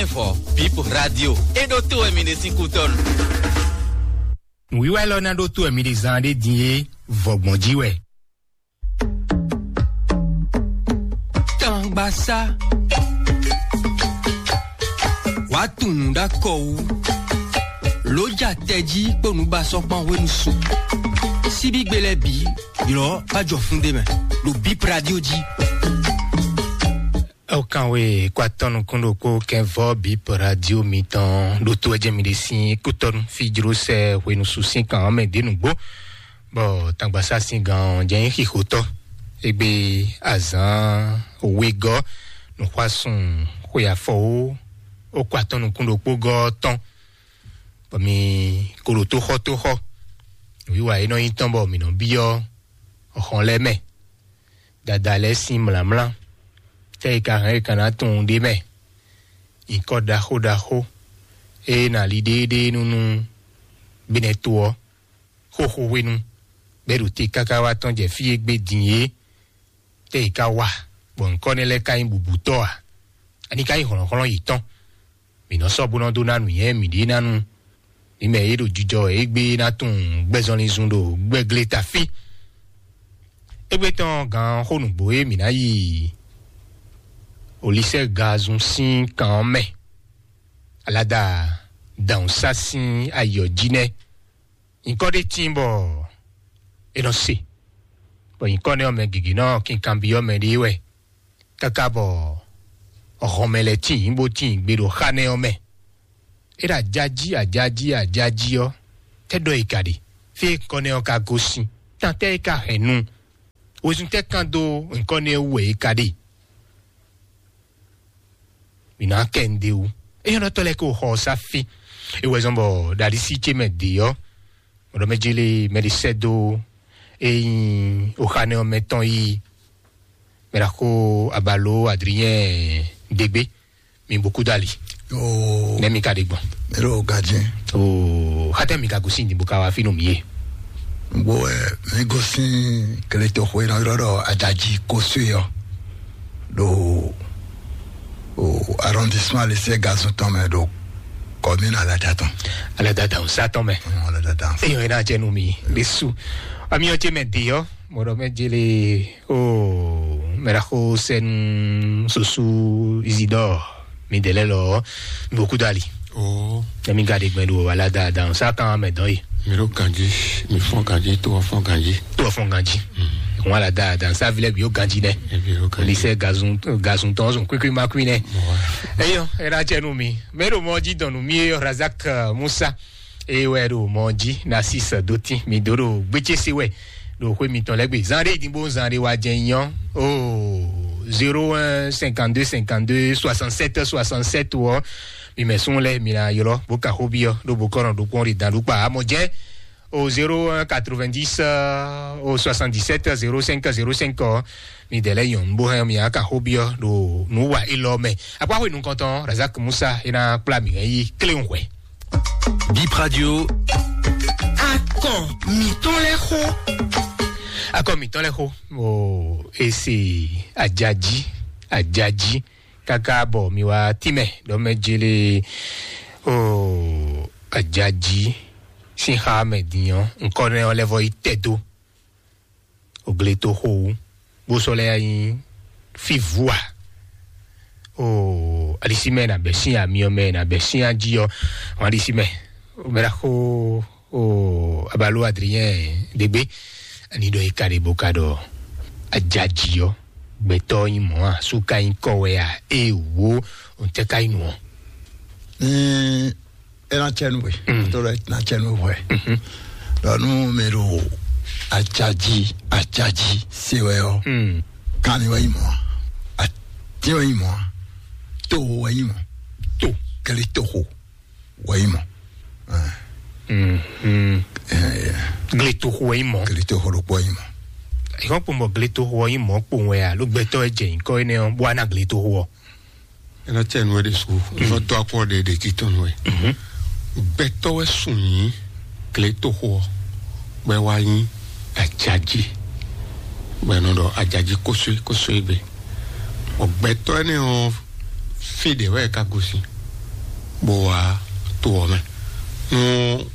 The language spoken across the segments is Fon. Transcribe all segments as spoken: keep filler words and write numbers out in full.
Vɔ Bip Radio e ɖo to wɛ mi ɖe sín kútɔnu. Nǔwiwa élɔ́ ná ɖó tó wɛ mi ɖe zán ɖé din é, vɔgbɔn jí wɛ. Tangbasá wàá tunwun ɖó akɔ wú, lǒ ja tɛjí kpó nǔbasɔ́kpan hwenu su. Síbígbe lɛ́ɛ bǐ ylɔ́ bá jɔ fún ɖé mɛ ɖo Bip Radio jí. Ó kan we kó atɔ́ nukún ɖokpó kɛnvɔ́ Bip Radio mitɔn ɖo tó wɛ jɛ mi ɖe sín kútɔnu fí jló sɛ hwenu su sín kan ɔ́ mɛ ɖě nǔgbó. Bɔ tangbasásin gán ɔ́ jɛ nyí xixotɔ́ égbé azǎn wegɔ́ nǔxwásún xwe afɔwó ó kó atɔ́ nukún ɖokpó gɔ́ ɔ́ tɔn, bɔ mi ko ɖo tóxɔ tóxɔ. Nǔwiwa e nɔ nyí tɔn bɔ mǐ nɔ byɔ́ xɔn lɛ́ɛ mɛ, dada lɛ́ɛ sín mlǎmlá, tɛ́ e ka hɛn e ka ná tunwun ɖ'é mɛ, nyǐkɔ ɖaxó ɖaxó e ná li ɖéeɖée nú nú bínɛ́ to ɔ́, xóxó hwenu bɛ́ ɖo te káká wá tɔ́n jɛ fí e gbé din é, tɛ́ e ka wa, bɔ nyǐkɔ nɛ́ lɛ́ɛ ka nyí bǔbútɔ́ a? Ani ka nyí hlɔ̌nhlɔ́n yětɔn? Mǐ nɔ sɔ́ bó nɔ dó ná nǔnywɛ́ mǐɖée ná nu. Mǐ mɛ e ɖo jijɔ wɛ égbé ná tunwun gbɛzɔnlin zun ɖo gbɛglé ta fí. Égbé tɔn gǎn xó nǔgbó e mǐ ná yi Olisɛ gazun sín kan ɔ́ mɛ. Alada dǎnsá sín ayɔ jí nɛ́. Nyǐkɔ ɖé tíin bɔ è nɔ se, bɔ nyǐkɔ nɛ́ ɔ́ mɛ gěgé nɔ kinkanbyɔ́ mɛ ɖé wɛ, káká bɔ hɔnmɛ lɛ́ɛ tíin bó tíin gbe ɖo xá nɛ́ ɔ́ mɛ. É ɖo ajají ajají ajají ɔ́, tɛ́ ɖɔ è ka ɖe? Fí e nyǐkɔ nɛ́ ɔ́ ka gosín, tantɛ́ é ka hɛn nu? Wezun tɛ́ kan dó nyǐkɔ nɛ́ wú wɛ è ka ɖe? Mǐ ná kɛ nǔɖé wú. Éyɔ́nɔtɔ́ lɛ́ɛ kó xɔ ɔ́ sá fí. É wɛ zɔ́n bɔ ɖaɖísí ce mɛ dě ɔ́, mɔ̌ ɖɔ mɛ jélé mɛ ɖé sɛ́ dó é nyí oxánɛ ɔ́ mɛ tɔn yí mɛ ɖaxó Abalo Adriyɛn Dégbé. Mi bó kú dali. Yoo. Nɛ mi ka ɖe gbɔn. Mi ɖo gajɛ. Oo, xatɛ mi ka gosín din bó ka wá fínú mi yé. Gbó ɛ mi gosín keleto xwe nɔ ylɔ ɖɔ ajaji kosue ɔ ɖo o arrondissement Lese Gazon tɔn mɛ ɖo commune Alata tɔn. Alata tɔn sa tɔn mɛ. Alata tɔn. Eyɔn ena jɛ nu mi lesu. Ami ɔjɛ mɛ de yɔ mɔdɔ mɛ jele o mɛɖaxo sɛnu sosu Isidore mi dɛlɛ lɔ mi bó kú dali. Oo. Emi ka ɖe gbɛn ɖo Alata dan sa tɔn mɛ dɔn yi. Mi ɖo ganji, mi fɔn ganji, to fɔn ganji. To fɔn ganji. Wọn Alata dan sa vilɛ bi o ganji nɛ. Ebi o ganji. Lisɛ gazun gazun tɔn zun kwikwi ma kwi nɛ. Eyɔ era jɛ nu mi mɛ ɖo mɔ ji dɔn nu mi eyɔ Razak eh, Musa. Eye wɛ ɖo mɔ ji na sis dotin mi do ɖo gbétsese wɛ ɖo xwé mitɔn lɛ́ gbe zan ɖé idinbo zan ɖé wa jɛ nyɔ o zéro un cinquante-deux cinquante-deux soixante-sept soixante-sept wɔ mi mɛ sún lɛ mi na ylɔ bó ka xó byɔ ɖo bó kɔnɔ ɖokpɔn ɖi dan ɖukpa amɔ jɛ o zéro un quatre-vingt-dix o soixante-dix-sept zéro cinq zéro cinq ɔ mi dɛ lɛ nyɔ nbo hɛn mi aka xó byɔ ɖo nǔ wa élɔ mɛ akpa xó nukɔntɔn Razak Musa ena kpla mi hɛn yi kléwun hwɛ. Bip Radio. Akɔ mǐtɔn lɛ́ xó. Akɔ mǐtɔn lɛ́ xó. O ese ajaji ajaji kaka bɔ mi wá tínmɛ ɖɔ mɛ jele o ajaji sín xa mɛ din ɔ́ nkɔ nɛ ɔ́ lɛ́ vɔ yi tɛ dó. Ogle to xo wú bó sɔ́ lɛ́ nyi fívu a o alisimɛ nà bɛ sín amyɔ mɛ nà bɛ sín ají ɔ wọn alisimɛ mɛ la xo o abalo adriyɛn degbe ani ɖɔ yi ka ɖe bó ka ɖɔ ajaji ɔ gbɛtɔ nyi mɔ a su ka nyi kɔ wɛ a e wo o tɛ ka nyi nu ɔ. Ní ena tsɛnu we, mm, to lɛ na tsɛnu we. Dɔnu mi ɖo atsadzi atsadzi se wɛ ɔ. Mm. Kan mi wɛ yi mɔ a ti wɛ yi mɔ a to wɛ yi mɔ to kele toxo wɛ yi mɔ. Mm. Gle toxo wɛ yi mɔ. Kele toxo ɖokpɔ yi mɔ. Ìwọ́n kpɔn bɔ gle toxo wɛ yi mɔ kpɔn wɛ a ló gbɛtɔ ɛ jɛ nyǐkɔ énɛ́ ɔ́ bó wá ná gle toxo ɔ. Ena tsɛ nu wɛ ɖe su zɔ dɔ akɔ ɖe ɖe titɔn nu wɛ. Gbɛtɔ wɛ sun nyi kle toxo ɔ gbɛ wa nyi ajaji gbɛ nɔ ɖɔ ajaji kóso kóso gbe. Ɔ gbɛtɔ ɛnɛ ɔ fi ɖe wɛ ka gosi. Bó wá to ɔ́ mɛ. Nú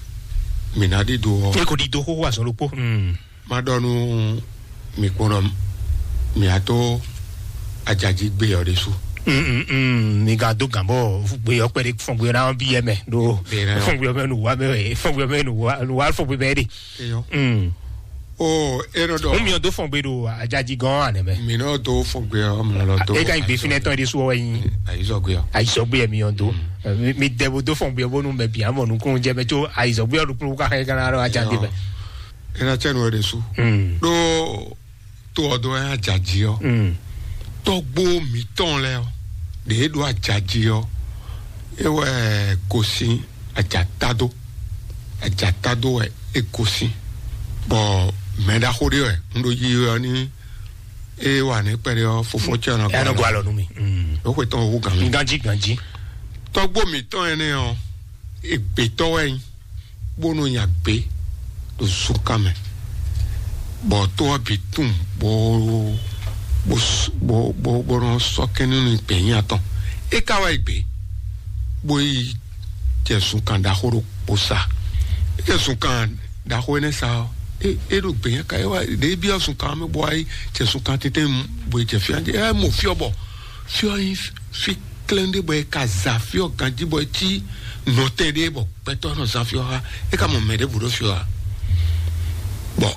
mǐ ná ɖi do ɔ́, E ko ɖi do xóxó azɔn ɖokpó. Mm. Má ɖɔ nú mi kpɔ́n ɖɔ mǐ á tó ajají gbé ɔ́ ɖésú. Mm, mm, mm, mi ka do gǎn bɔ gbé ɔ́ kpɛɖé fɔn gbé ɔ́ ná bí yɛ mɛ ɖo Bɛnɛ ɔ́. Fɔn gbé ɔ́ mɛ nu wa mɛ wɛ fɔn gbé ɔ́ mɛ nu wa nu wa fɔn gbé mɛ ɖe. Eyɔ. Mm. O e nɔ ɖɔ N miɔ do fɔn gbé ɖo ajají gɔn anɛ mɛ. Mi nɔ do fɔn gbé ɔ́ mlɔ lɔ do. E ka yi gbé finɛ tɔn ɖi su wɛ yin. Ayizɔ gbé ɔ́. Ayizɔ gbé mi yɔn do. Mi dɛ bo do fɔn gbé bónú mɛ bia mɔ nukun jɛ mɛ tso ayizɔ gbé ɔ́ ɖo kplɔn ka xɛ kana ɖo ajají mɛ. E na tse nu ɔ́ ɖe su. Mm. Ɖó to ɔ́ dó wɛ ajají ɔ́. Mm. Tɔgbo mǐtɔn lɛ ɔ́, ɖě e ɖo ajají ɔ́, é wɛ gosín ajatado. Ajatado wɛ é gosín. Bɔ mɛ ɖaxó ɖé wɛ un ɖo yiyi ɔ́ ní é wà ní kpɛɖé ɔ́, fofó cɛ ɔ́ nɔ Ɛ nɔ gɔ́ alɔ nú mi. Mm. Ló xwe tɔn wú gǎn mi. Ganjí ganjí. Tɔgbo mǐtɔn ɛnɛ ɔ́, egbětɔ́ wɛ nyí, bó nɔ nya gbě ɖo zunkan mɛ, bɔ to ɔ́ bǐ tunwun bó bó bó bó bó nɔ sɔ́ kɛ́n nú gbě nyí atɔn. É ka wá yi gbě, bó yi jɛ zunkan ɖaxó ɖokpó sa. É jɛ zunkan ɖaxó énɛ́ sa ɔ́, é é ɖo gbě nyí ka é wá ɖě byɔ́ zunkan mɛ bó wá yi jɛ zunkan tɛ́ntɛ́n bó yi jɛ fí ɔ́, é mɔ fí ɔ́ bɔ fí ɔ́ nyí fí klɛ́n ɖé bɔ è ka za fí ɔ́ ganjí bɔ é cí nɔtɛn ɖé bɔ gbɛtɔ́ nɔ zán fí ɔ́ xá, é ka mɔ mɛ ɖěbǔ ɖó fí ɔ́ ǎ. Bɔ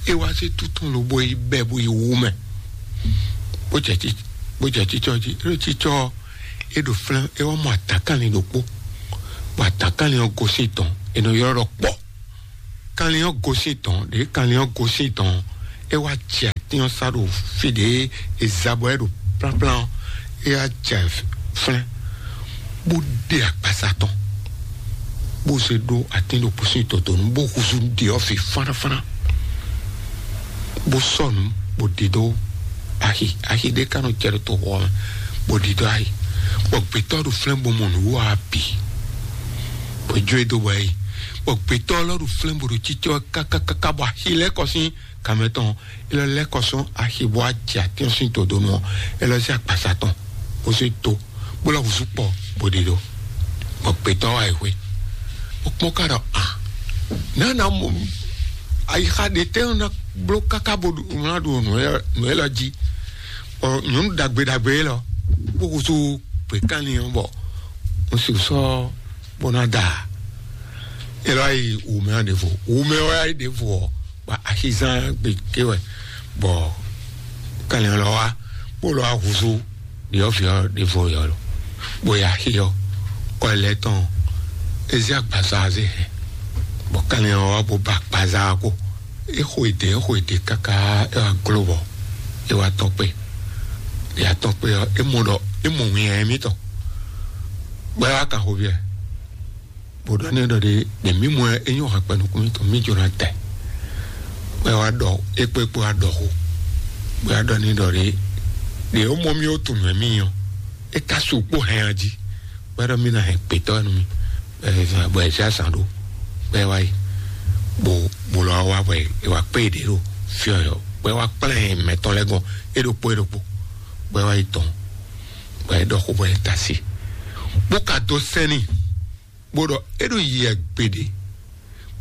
é wá sí tútún lobo yi bɛ́ bó yi wú mɛ, bó jɛ tí bó jɛ títsɔ́ jí. É ɖo títsɔ́ ɔ́, é ɖo flɛ́n, é wá mɔ atǎkanlin ɖokpó, bɔ atǎkanlin ɔ́ gosín tɔn, è nɔ ylɔ́ ɖɔ kpɔ́. Kanlin ɔ́ gosín tɔn ɖě kanlin ɔ́ gosín tɔn, é wá jɛ atín ɔ́ sá ɖo fí ɖě e za bɔ é ɖo plánplán ɔ́, é wá jɛ flɛ́n, bó ɖe akpasa tɔn, bó zé ɖó atín ɖokpó sín dodonu, bó húzú ɖě ɔ́ fi fánafána, bó sɔ́ nǔ, bó ɖidó axi axi ɖé ka nɔ jɛ ɖo toxo ɔ́ mɛ, bó ɖidó axi, bɔ gbětɔ́ ɖo flɛ́n bó mɔ nǔwiwa ɔ́ bǐ, bó jó e dó bɔ é yi, bɔ gbětɔ́ lɔ ɖo flɛ́n bó ɖo cícɔ́ kákákáká, bɔ axi lɛ́ kɔ sín kanmɛ tɔn, é lɔ lɛ́ kɔ sɔ́ axi bó wá jɛ atín ɔ́ sín dodonu ɔ́, é lɔ zé agbasa tɔn, bó zé dó, bó lɔ húzú kpɔ, bó ɖidó, bɔ gbětɔ́ wá yi xwé, bó kpɔ́n ká ɖɔ a nǎ ná mɔ ayixa ɖe tɛ́ ná bló káká bó ɖu ná ɖu nǔ élɔ́ jí, bɔ nyɔ̌nu ɖagbe ɖagbe élɔ́ bó húzú gběkanlin ɔ́, bɔ un sixú sɔ́ bó ná da ǎ. É lɔ yi wǔmɛ ɔ́ ɖěvo, wǔmɛ ɔ́ wá yi ɖěvo ɔ́, bɔ axizán gbe ké wɛ, bɔ kanlin ɔ́ lɔ wá, bó lɔ wá húzú ɖyɔ̌vǐ ɔ́ ɖěvo yɔ lo, bó yi axi ɔ́, kɔ ɛ lɛ́ tɔn, é zé agbaza ɔ́ zé hɛn, bɔ kanlin ɔ́ wá bó ba agbaza ɔ́ kpo. É xo èdè, é xo èdè káká, é wá gló bɔ é wá tɔ́n kpé, ɖě atɔ́n kpé ɔ́, é mɔ ɖɔ é mɔ winnyá émítɔn, bɔ é wá kan xo byɔ́ ɛ, bó ɖɔ n'i ɖɔ ɖě ɖě mí mɔ ɛ, é nyɔ́ hɛkpɛ nukún mítɔn, mí jló ná tɛ, bɔ é wá ɖɔ é kpé kpó wá ɖɔ xó, bó wá ɖɔ n'i ɖɔ ɖě ɖě ó mɔ mì ó tunwun mɛ mì ɔ́, é ka su kpó hɛn a jí, bɔ é ɖɔ mì ná hɛn gbětɔ́ nú mì, bɔ ɛ zán bɔ ɛ zé azǎn ɖó, bɔ é wá yi, bó bó lɔ wá bɔ é wá kpé ɖě ɖo fí ɔ́, bɔ é wá kplá ɛ mɛtɔn lɛ́ɛ gɔn é ɖokpó é ɖokpó, bɔ é wá yi tɔn, bɔ é ɖɔ xó bɔ é ta sí, bó ka dó sɛ́n n'i, bó ɖɔ é ɖo yi ɛ gbeɖé,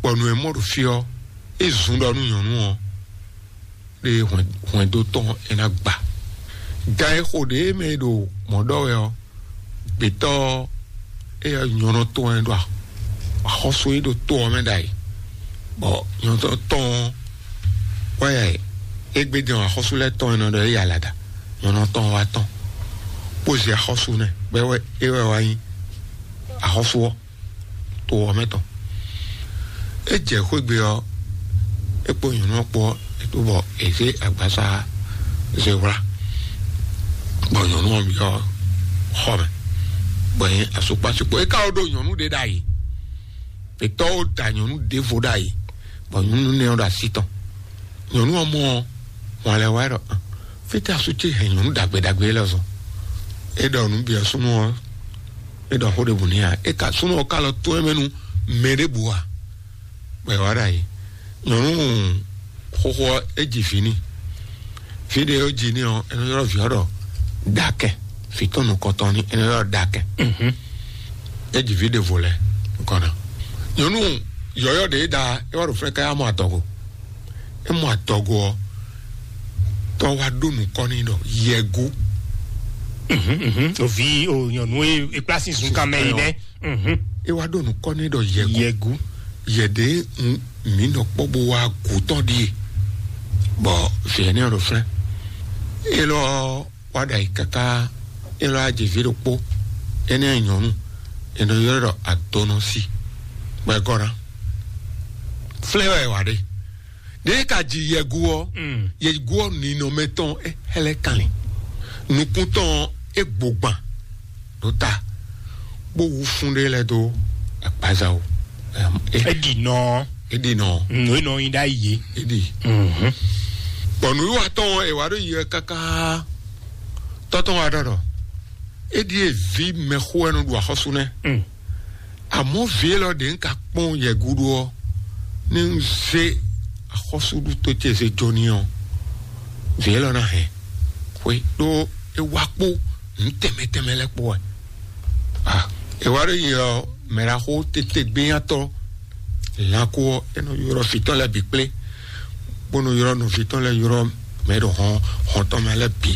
bɔ nǔ e mɔ ɖo fí ɔ́, é zun ɖɔ nú nyɔ̌nu ɔ́ ɖe hwɛndo tɔn é ná gba. Gan e xo ɖě mɛ e ɖo mɔ̌ ɖɔ wɛ ɔ́, gbětɔ́ ɔ́, é nyɔ̌nu tɔn wɛ ɖo axɔ́sú e ɖo to ɔ́ mɛ ɖ'ayǐ, bɔ nyɔ̌nu tɔn ɔ́ wɛ égbé din ɔ́, axɔ́sú lɛ́ɛ tɔn e nɔ ɖɔ é yi alaɖa, nyɔ̌nu tɔn ɔ́ wá tɔn, bó zé axɔ́sú nɛ, bɔ é wɛ é wɛ wá nyí axɔ́sú ɔ́. To ɔ́ mɛ tɔn. É jɛ xwé gbe ɔ́, é kpó nyɔ̌nu ɔ́ kpó ɔ́, é tó bɔ è zé agbaza zé wlá, bɔ nyɔ̌nu ɔ́ byɔ́ xɔ mɛ, bɔ é nyí asukpasukpo. É ka wó ɖó nyɔ̌nu ɖé ɖ'ayǐ, gbětɔ́ wó da nyɔ̌nu ɖěvo ɖ'ayǐ, bɔ nyɔ̌nu nɛ́ ɔ́ ɖo así tɔn. Nyɔ̌nu ɔ́ mɔ ɔ́, hwan lɛ́ wá ɖɔ: "Fítɛ́ asú ce hɛn nyɔ̌nu ɖagbe ɖagbe élɔ́ zɔn?" É ɖɔ nǔ bǐ ɔ́ súnnu ɔ́, é ɖɔ xó ɖěbǔ n'i ǎ. É ka súnnu ɔ́ ka lɔ tɔ́n ɛ mɛ nú mɛ ɖěbǔ ǎ, bɔ è wá ɖo ayǐ. Nyɔ̌nu xóxó ɔ́, é ji vǐ n'i. Vǐ ɖě e ó ji n'i ɔ́, é nɔ ylɔ́ vǐ ɔ́ ɖɔ Ɖakɛn. Vǐ tɔn nukɔntɔn ní é nɔ ylɔ́ ɖɔ Ɖakɛn. Mhm. É ji vǐ ɖěvo lɛ́ɛ nukɔn ná. Nyɔ̌nu yɔ̌yɔ́ ɖě e da é wá ɖo fɛ́n káyá mɔ adɔgo. É mɔ adɔgo ɔ́, tɔ́ wá ɖó nukɔn n'i ɖɔ yɛgu. Ovi o nyɔnu e e kpla sin zun kan mɛ yi nɛ. É wá ɖó nukɔn n'i ɖɔ yɛgu. Yɛgu. Yɛɖe mǐ nɔ kpɔ́ bó wá gǔ tɔn ɖíe. Bɔ vǐ énɛ́ ɖo flɛ́. Élɔ́ wá ɖo ayǐ káká. Élɔ́ wá jɛ vǐ ɖokpó. Énɛ́ nyɔ̌nu. È nɔ ylɔ́ ɖɔ adɔnɔsi. Bɔ é gɔ́ ná. Flɛ́ wɛ è wǎ ɖe. Ɖěe ka ji yɛgu ɔ́, yɛgu ɔ́ ninɔmɛ tɔn é hɛ́lɛ́ kanlin. Nukún tɔn é gbogban ɖó ta, bó wú fún ɖé lɛ́ɛ dó agbaza o. Ɛm, é- Edi nɔ. É ɖi nɔ. Nɔ enɔ yin ɖ'ayǐ. É ɖi. Bɔn nǔwiwa tɔn ɔ́, è wǎ ɖó yi wɛ káká. Tɔ́ tɔn wá ɖɔ ɖɔ é ɖíe vǐ mɛxó wɛ nɔ ɖu axɔ́sú nɛ́. Àmọ́ vǐ élɔ́ ɖě ń ka kpɔ́n yɛ gúdo ɔ́, ní ń zé axɔ́súɖútó ce zé jó n'i ɔ́, vǐ élɔ́ ná hɛn xwé ɖó é wá kpó nǔ tɛnmɛ tɛnmɛ lɛ́ɛ kpó wɛ. Ah, è wá ɖó yi ɔ mɛɖaxó tete gbéyàtɔ lanko ɔ́, é nɔ ylɔ́ fǐtɔ́ lɛ́ɛ bǐ kplé, bó nɔ ylɔ́ nɔví tɔn lɛ́ɛ ylɔ́ mɛ ɖo hɔn hɔn tɔn mɛ lɛ́ɛ bǐ,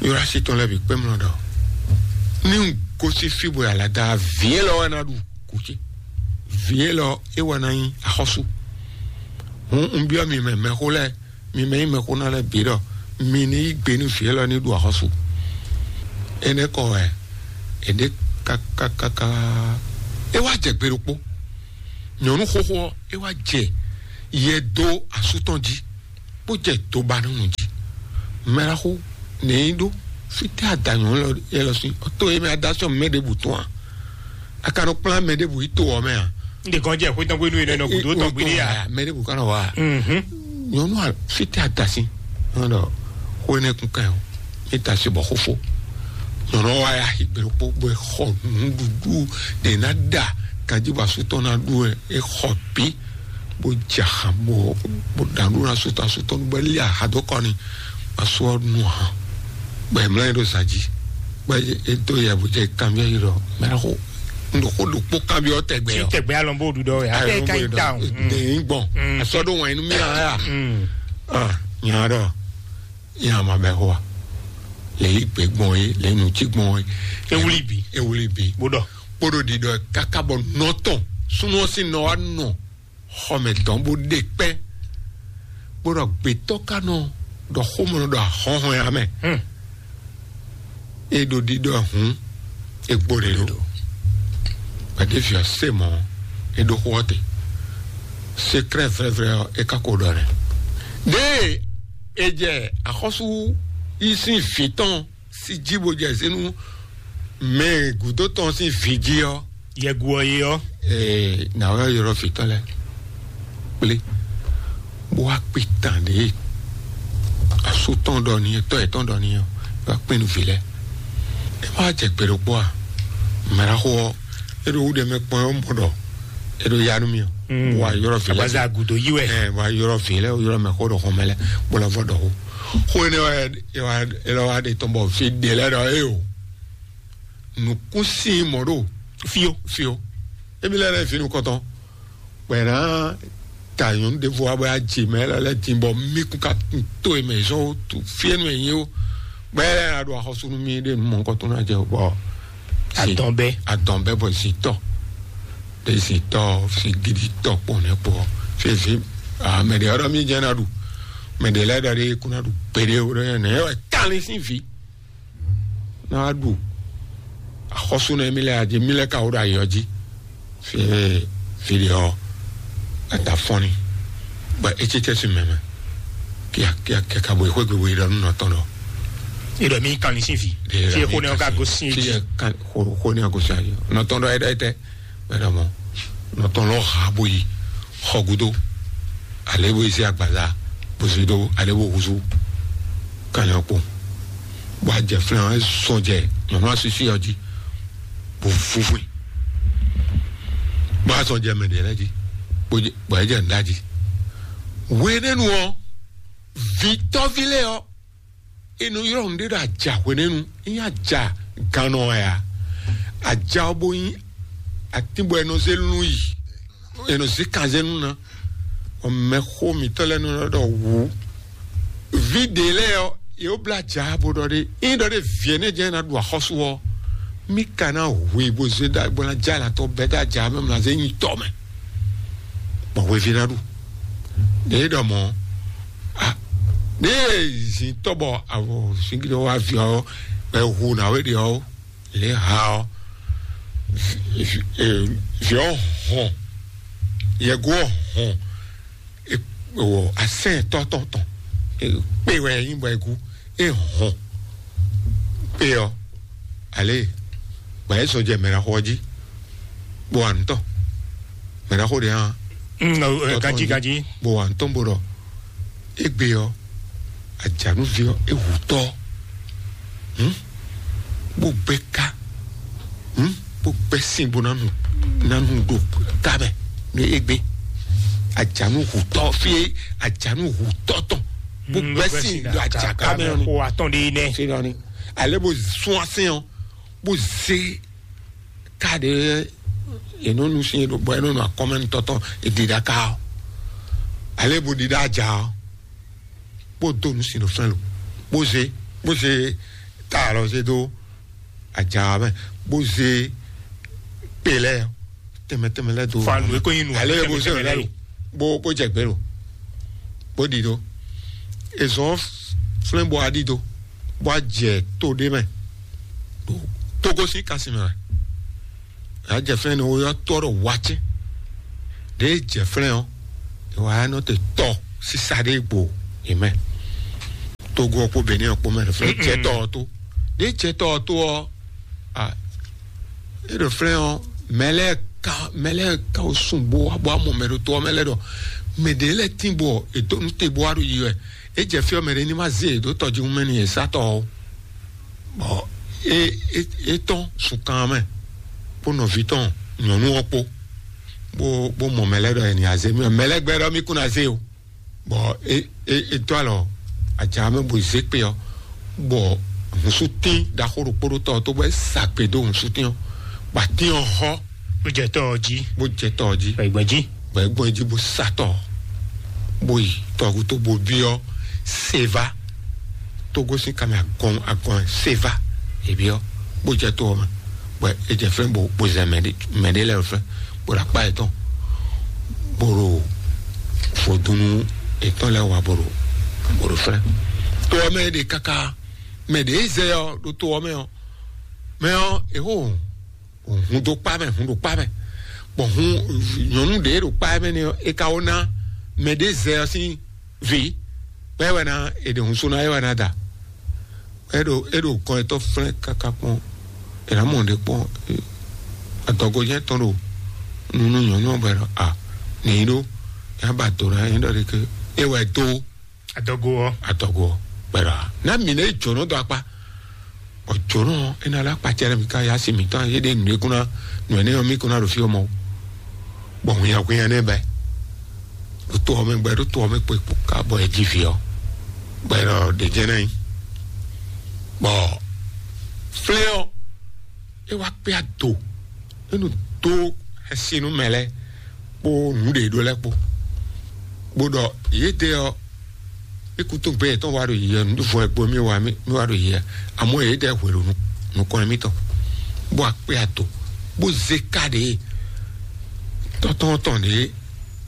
ylɔ́ así tɔn lɛ́ɛ bǐ kpé mlɔ ɖɔ ní un gosín fí bɔ alada vǐ élɔ́ wɛ ná ɖu kú ce. Vǐ élɔ́ é wɛ ná nyí axɔ́sú. Hǔn un byɔ́ mi mɛ mɛxó lɛ́ɛ, mi mɛ nyí mɛxó ná lɛ́ɛ bǐ ɖɔ mi ní yí gbe nú vǐ élɔ́ ní ɖu axɔ́sú. Énɛ́ kɔ wɛ è ɖě kákákáká. É wá jɛ gbe ɖokpó. Nyɔ̌nu xóxó ɔ́, é wá jɛ yɛ dó asú tɔn jí, bó jɛ do ba nú nǔ jí. Mɛɖaxó nɛ̌ yí ɖó fítɛ́ adanyɔ̌ élɔ́ sín? Tó e mɛ adásɔ́ mɛ ɖěbǔ tɔn a? A ka nɔ kplá mɛ ɖěbǔ yi to ɔ́ mɛ a? N de kɔn jɛ xwé tɔn gbénu yɛn nɔ gǔdo tɔn gbénu ya. Mɛ ɖěbǔ ka nɔ wa a? Nyɔ̌nu a fítɛ́ adasín? Nɔ ɖɔ xó énɛ́ kún ká ɛ o. É ta se bɔ xófó. Nyɔ̌nu wa ya xi gbe ɖokpó bó e xɔ nǔɖuɖu ɖe ná ɖa kanjí bɔ asú tɔn ná ɖu ɛ, é xɔ bǐ bó jɛ axan bó bó ɖa nǔɖuɖu ná asú tɔn, asú tɔn bó lí aha dó kɔ ni. Asú ɔ́ nu ahan bɔ è mlá ɛ ɖo zǎn jí bɔ é dó yɛ bó jɛ kanbyɔ́ yi ɖɔ mɛ ɖo xó un ɖo xó ɖokpó kanbyɔ́ tɛgbɛ Tí ɔ. Tẹ̀gbẹ́ alɔnbó ɖuɖɔ ɛ. Akẹ́ ká yí down. Ní gbɔn asɔ ɖo wɛn nú mí aya. Nya ɖɔ nya ma bɛ xó wa lè yí gbé gbɔn yé lè nù tí gbɔn yé. Ewúlí bì. Ewúlí bì. Bó ɖɔ. Kpóɖó ɖiɖɔ káká bɔ nɔtɔn súnú ɔ́ sín nɔ wá nɔ xɔmɛ tɔn bó ɖe kpɛ́. Kpóɖó gbětɔ́ ká nɔ ɖɔ xómɔ nɔ ɖɔ ahɔ́hɔn ya mɛ. É ɖo ɖiɖɔ hǔn é gbó ɖe ɖo. Gbadéfi ɔ́ se mɔ̌ é ɖó xó ɔ́ te. Sekrɛ́ vrɛ́vrɛ́ ɔ́ é ka ko ɖɔ nɛ́. Ɖěe è jɛ axɔ́sú yí sín vǐ tɔn sí jí bó jɛ zé nú mɛ gǔdo tɔn sín vǐ jí ɔ́. Yɛgu ɔ yi ɔ. Ee, nǎ wɛ ylɔ́ vǐ tɔn lɛ́ɛ kplé bó wá kpi tán ɖě asú tɔn ɖɔ n'i tɔ́ yětɔn ɖɔ n'i ɔ́, é wá kpé nú vǐ lɛ́ɛ. É má jɛ gbe ɖokpó a? Mɛɖaxó ɔ́ é ɖo wú ɖe mɛ kpɔn ɔ́ mɔ ɖɔ é ɖo ya nú mì ɔ. Bó wá ylɔ́ vǐ lɛ́ɛ. Abaza gudo yi wɛ. Ɛ wá ylɔ́ vǐ lɛ́ɛ ylɔ́ mɛ xó ɖo xɔmɛ lɛ́ɛ bó lɔ vɔ ɖɔ xó. Xó énɛ́ wɛ é wá é lɔ wá ɖe tɔn bɔ vǐ ɖě lɛ́ɛ ɖɔ é o. Nǔkún sín mɔ̌ ɖo Fio. Fio. Émi lɛ́ɛ lɛ́ɛ fínú kɔntɔn. Gbɛ̌ ná ta nyɔ̌nu ɖěvo wá bɔ yá jǐ mɛ lɛ́ɛ lɛ́ɛ dín bɔ mí kún ka to e mɛ zɔn ó tu fíɛ́nu e nyí ó. Gbɛ́ lɛ́ɛ ná ɖo axɔ́sú nú mí ɖe mɔ nukɔn tó ná jɛ ó bɔ. Adɔn bɛ. Adɔn bɛ bɔ zǐtɔ ɖe zǐtɔ fi gidi tɔ kpɔn nɛ kpɔ fi fi mɛ ɖe ɔɖɔ mí jɛ ná ɖu mɛ ɖe lɛ́ɛ ɖɔ ɖe kún ná ɖu gbeɖe ó ɖɔ nɛ wɛ kálí sín fi. Ná wá ɖu axɔ́sú nɛ mí lɛ́ɛ adzi mí lɛ́ɛ ka wó ɖo ayɔ jí. Fie fili ɔ ata fɔnni bɔ etsitsɛ si mɛmɛ kia kia kia ka bo xwé gbogbo yi ɖɔ nɔ tɔn ɖɔ. Ìdọ̀ mi kan ní sí fi. Fi kó ní ọkà gosín fi èjì. Kó ní ọkà gosín ayé nɔ tɔn ɖɔ ɛ ɖɔ ɛ tɛ ɛ ɖɔ mɔ nɔ tɔn lɔ ha bo yi xɔ gudo ale bo yi sí agbaza bo si do ale bo huzu kanyɔ kpo bɔ a jɛ flɛn ɛ sɔn jɛ nyɔnu asisi ɔ dzi bó fúnfún bó a sɔn jɛ mɛ ɖe lɛ dzi bó jɛ bó a jɛ nda dzi wénɛnu ɔ vitɔvi lɛ ɔ inu yɔrɔ nu ɖe ɖo aja wénɛnu iya aja ganɔ ya aja ɔ bó yin atín bɔ è nɔ zé lún yi, è nɔ zé kan zé lún ná. Mɛxó mǐtɔn lɛ́ɛ nɔ ɖɔ wǔ. Vǐ ɖě lɛ́ɛ ɔ́, yě wó blá jǎ bo ɖɔ ɖé, ényí ɖɔ ɖé vǐ énɛ́ jɛ́n ná ɖu axɔ́sú ɔ́, mí ka ná hu i bó zé ɖa bó ná jɛ alǎ tɔn bɛ́ dó ajǎ mɛ, mlá zé nyi tɔ mɛ, bɔ hweví ná ɖu. Ɖě ɖɔ mɔ̌, a ɖě zǐn tɔ́ bɔ avɔ zǐngídɔ wá vǐ ɔ́, bɔ è hu nǎwe ɖě ɔ́, lě ha ɔ́, vǐ ɔ́ hɔn, yɛgo ɔ́ hɔn, asɛn tɔ́ tɔn tɔn, kpé wɛ nyí bɔ è gú, é hɔn kpé ɔ́, alě, gbǎ é sɔ́ jɛ mɛɖaxó ɔ́ jí, bó wa nǔ tɔn, mɛɖaxó ɖě hã, Mm, ɔ, ɔ, tɔ́ tɔn ganjí, jí, ganjí. Bó wa nǔ tɔn bó ɖɔ, égbé ɔ́, ajǎnúví ɔ́, é hu tɔ́, hǔn, bó gbɛ́ ká, hǔn, bó gbɛ́ sin bó ná nu, ná nu ɖo ká mɛ nú égbé. Ajǎnú hu tɔ́ fí é, ajǎnú hu tɔ́ tɔn, bó Mm, gbɛ́ bó gbɛ́ sin sin ɖo ɖo ajǎká mɛ ɔ́ ni. Xo atɔn ɖé nɛ́. Fí nɔ ni. Ale bó sún asɛn ɔ́, bó zé ká ɖě è nɔ nu sin e ɖo bɔ è nɔ nu akɔmɛnutɔ́ tɔn è ɖi ɖa ká ɔ́. Ale bó ɖi ɖa aja ɔ́, bó dó nu sin ɖo fɛn lo, bó zé, bó zé ta alɔ zé dó aja ɔ́ mɛ, bó zé kpe lɛ́ɛ tɛnmɛ tɛnmɛ lɛ́ɛ dó. Fa nu e ko nyi nu ale tɛnmɛ bó zé tɛnmɛ lɛ́ɛ lɛ́ɛ lo, bó bó jɛ gbě lo, bó ɖi dó. È zɔn flɛ́n bó wá ɖi dó, bó wá jɛ to ɖé mɛ, ɖo Togo sín kasi mɛ wɛ. Yǎ jɛ flɛ́n ni wó yɔ́ tɔ́ ɖo wacɛ́n ɖě jɛ flɛ́n ɔ́, è wǎ nɔ te tɔ sísá ɖé gbo è mɛ. Togo ɔ́ kpó Benin ɔ́ kpó mɛ ɖo flɛ́n jɛ tɔ ɔ́ tó. Ɖě jɛ tɔ ɔ́ tó ɔ́, a é ɖo flɛ́n ɔ́, mɛ lɛ́ɛ ka mɛ lɛ́ɛ ka wo sun bó wá bó wá mɔ mɛ ɖo to ɔ́ mɛ lɛ́ɛ ɖɔ mɛ ɖě lɛ́ɛ tín bɔ è dó nú te bó wá ɖo yi wɛ. É jɛ fí ɔ́, mɛ ɖě ní ma zé è dó tɔjíhún mɛ ni è sá tɔ ɔ́. Bɔ é é é tɔ́n sunkan mɛ kpó nɔví tɔn nyɔ̌nu ɔ́ kpó, bó bó mɔ mɛ lɛ́ɛ ɖɔ è nǐ azé mì, mɛ lɛ́ɛ gbɛ́ ɖɔ mì kún ná zé o. Bɔ é é é dó alɔ aja mɛ bó zé kpe ɔ́, bɔ hǔnsútín ɖaxó ɖokpó ɖó tɔ ɔ́ tó bɔ é sa gbe dó hǔnsútín ɔ́, bɔ atín ɔ́ hɔ́, bó jɛ tɔ ɔ́ jí, bó jɛ tɔ ɔ́ jí, bɔ é gbɔn jí, bɔ é gbɔn jí bó sa tɔ ɔ́, bó yi tɔgútó bó byɔ́ Seva, Togo sín kanmɛ agɔn agɔn Seva, è byɔ́, bó jɛ to ɔ́ mɛ, bɔ é jɛ flɛ́n bó bó zɛ mɛ ɖé mɛ ɖé lɛ́ɛ flɛ́n, bó ɖo akpá yětɔn, bó ɖo vodúnú yětɔn lɛ́ɛ wá bó ɖo bó ɖo flɛ́n. To ɔ́ mɛ é ɖe káká, mɛ ɖě zɛ ɔ́ ɖo to ɔ́ mɛ ɔ́, mɛ ɔ́ è xó hun dó kpá mɛ, hun ɖo kpá mɛ, bɔ hun nyɔ̌nu ɖě ɖo kpá mɛ nɛ ɔ́, è ka wó ná mɛ ɖě zɛ ɔ́ sín vǐ, bɔ é wɛ ná è ɖe hun sú ná é wɛ ná da. É ɖo é ɖo kɔn etɔ́ flɛ́n káká kpɔ́n, è nǎ mɔ ɖě kpɔ́n, adɔgojɛ́n tɔn ɖo nunu nyɔ̌nu ɔ́ bɔ è ɖɔ a nǐ ɖó, é ná ba do ná é ɖɔ ɖé ké, é wɛ dó. Adɔgo ɔ́. Adɔgo ɔ́, bɔ è ɖɔ a ná mǐ nɛ jǒnɔ dó akpá. Bɔ jǒnɔ ɔ́, é ná lɛ́ akpacɛ lɛ́ɛ mi ká yá si mǐtɔn, é ɖe nǔ e kún ná nǔ énɛ́ ɔ́ mì kún ná ɖo fí ɔ́ mɔ. Bɔ hwinnyahwinnya nɛ́ bɛ́ ɖo to ɔ́ mɛ gbɛ, ɖo to ɔ́ mɛ kpekpo ká bɔ è ji vǐ ɔ́, bɔ è nɔ ɖe jɛ́n ná nyi. Bɔ flɛ́ ɔ́, é wá kpé ado, é nɔ dó xɛsi nú mɛ lɛ́ɛ kpó nǔɖé ɖó lɛ́ɛ kpó, bó ɖɔ yědɛɛ ɔ́, é kútúgbɛ yětɔn wá ɖo yiyɛ, nǔɖuɖu ɛ kpó mì wá mì wá ɖo yiyɛ, amɔ̌ yědɛɛ hwenu nukɔn mǐtɔn, bó wá kpé ado, bó zé ká ɖě tɔ́tɔ́ tɔn ɖě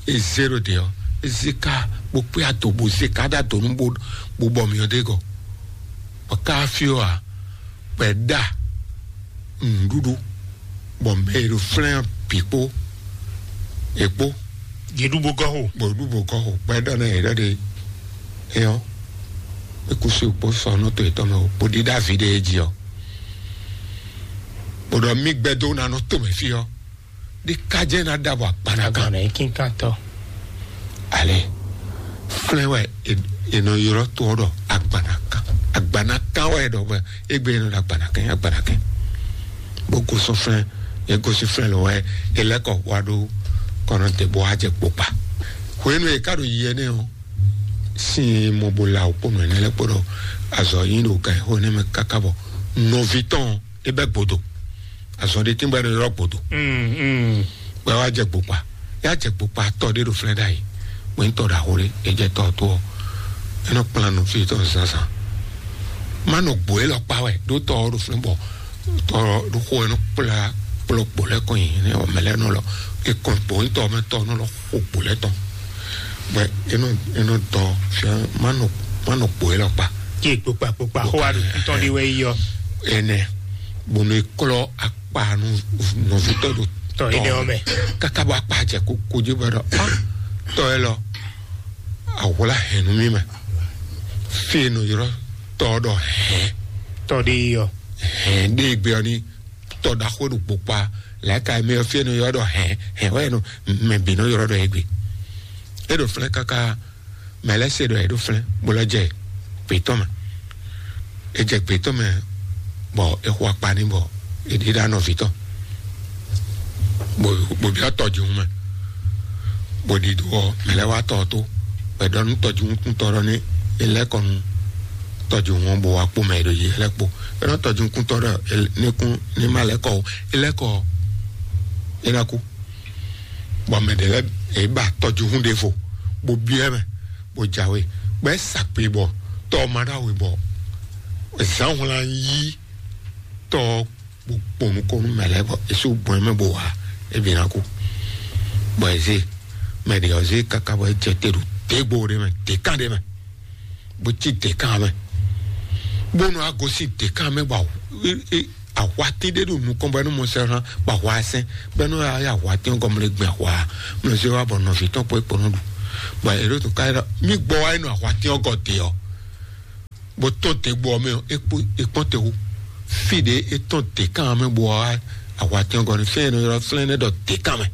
é zé ɖo ɖě ɔ́, é zé ká bó kpé ado bó zé ká ɖó adǒ nú bó bó bɔ myɔ ɖ'é gɔ́. Bɔ ká fí ɔ́ ǎ, bɔ è ɖa nǔɖuɖu, bɔ mɛ e ɖo flɛ́n ɔ́ bǐ kpó è kpó. Yě ɖu bó gɔ́ xo. Bɔ è ɖu bó gɔ́ xo, bɔ è ɖɔ nú yě ɖɔ ɖe é ɔ́, é kú sí kpó sɔ nú to yětɔn mɛ o, bó ɖíɖá vǐ ɖé é jí ɔ́, bó ɖɔ mì gbɛdó ná nɔ to mɛ fí ɔ́, ɖé ká jẹ́ ná ɖa bɔ agbana kan. Agbana yìí kínkan tɔ. Ale flɛ́n wɛ è nɔ ylɔ́ to ɔ́ ɖɔ agbana kan. Agbana kan wɛ è ɖɔ bɔ égbé è nɔ ɖɔ agbana kan, agbana kan. Bó gosɔn flɛ́n, è gosɔn flɛ́n lɔ wɛ è lɛ́ kɔ wá ɖó kɔnɔ te bó wá jɛ kpokpa. Hwenu e è ká ɖo yi ɛnɛ ɔ́, sin e mɔ bó la wǔ kpó nɔ ɛnɛ lɛ́ɛ kpó ɖɔ azɔ̌ nyi ɖo gan e xó énɛ́ mɛ káká bɔ nɔví tɔn é bɛ́ gbodo. Azɔn ɖé tíngbɔ é nɔ ylɔ́ gbǒdó. Mm, mm. Bɔ é wá jɛ gbokpa. É wá jɛ gbokpa tɔ ɖé ɖo flɛ́ ɖ'ayǐ. Bɔ nyí tɔ ɖaxó ɖé, é jɛ tɔ ɔ́ tó ɔ́, é nɔ kplán nɔví tɔn zǎnzǎn. Má nɔ gbǒ élɔ́ kpá wɛ ɖó tɔ ɔ́ ɖo flɛ́ bɔ tɔ ɔ́ ɖo xó ɛ nɔ kplá kplɔ́ gbǒ lɛ́ɛ kɔn nyi nɛ́ ɔ́ mɛ lɛ́ɛ nɔ lɔ. É kɔn gbǒ nyí tɔ ɔ́ mɛ tɔ ɔ́ nɔ lɔ xo gbǒ lɛ́ɛ tɔn. Bɔ é nɔ é nɔ dɔ fia má nɔ má nɔ gbǒ élɔ́ kpá. Kí èkpokpa kpokpa xó wa ɖo kútɔn ɖé wɛ yí ɔ. Ɛnɛ bónú é klɔ́ akpa nú nɔvítɔ́ ɖo Tɔ énɛ́ ɔ́ mɛ. Káká bɔ akpa jɛ kókó jí bɔ ɖɔ ah, tɔ ɛ lɔ, ahwlá hɛn nú mì mɛ. Fí e nɔ ylɔ́ tɔ ɔ́ ɖɔ hɛn. Tɔ ɖé yí ɔ. Hɛn ɖé gbe ɔ́ ní tɔ ɖaxó ɖo kpokpa lɛ̌ka mɛ ɔ́ fí e nɔ ylɔ́ ɖɔ hɛn hɛn wɛ nɔ mɛ bǐ nɔ ylɔ́ ɖɔ é gbe. É ɖo flɛ́ káká mɛ lɛ́ɛ se ɖɔ é ɖo flɛ́ bó lɔ jɛ gbětɔ́ mɛ. É jɛ gbětɔ́ mɛ bɔ é xo akpa ní bɔ é ɖíɖá nɔví tɔn. Bó bó byɔ́ tɔjíhún mɛ bó ɖi do ɔ́ mɛ lɛ́ɛ wá tɔ ɔ́ tó bɔ é ɖɔ nú tɔjíhúnkúntɔ́ ɖɔ ní é lɛ́ kɔ nú tɔjíhún ɔ́ bó wá kpó mɛ e ɖo yě lɛ́ɛ kpó. É nɔ tɔjíhúnkúntɔ́ ɖɔ ní kún ní má lɛ́ kɔ ó, é lɛ́ kɔ ɔ́ é ná kú. Bɔ mɛ ɖě lɛ́ɛ yě ba tɔjíhún ɖěvo bó byɔ́ ɛ mɛ bó jǎwe bɔ é sa kpi bɔ tɔ ɔ́ ma ɖó awe bɔ zǎnhwlán yí tɔ ɔ́ bó kpɔn nukɔn nú mɛ lɛ́ɛ bɔ é sú gbɔn ɛ mɛ bó wá é bǐ ná kú. Bɔ è zé mɛ ɖě ɔ́ zé káká bɔ é jɛ te ɖo dégbó ɖé mɛ dékan ɖé mɛ bó cí dékan mɛ bónú a gosín dékan mɛ bɔ ahwatín ɖé ɖo nukɔn bɔ é nɔ mɔ sɛ hàn bɔ ahwa sɛn bɔ é nɔ ya ahwatín ɔ́ gɔmlɛ gbɛn ahwa mlɔ zé wa bɔ nɔví tɔn kpó é kpó nɔ ɖu bɔ é ɖo tó ká mí gbɔ wa é nɔ ahwatín ɔ́ gɔ dé ɔ́ bó tɔn te gbɔ mɛ ɔ́ é kpó é kpɔn te wú fí ɖé é tɔn dékan mɛ bɔ wa ahwatín ɔ́ gɔ ní fɛn é nɔ ylɔ́ flɛ́n nɛ ɖɔ dékan mɛ.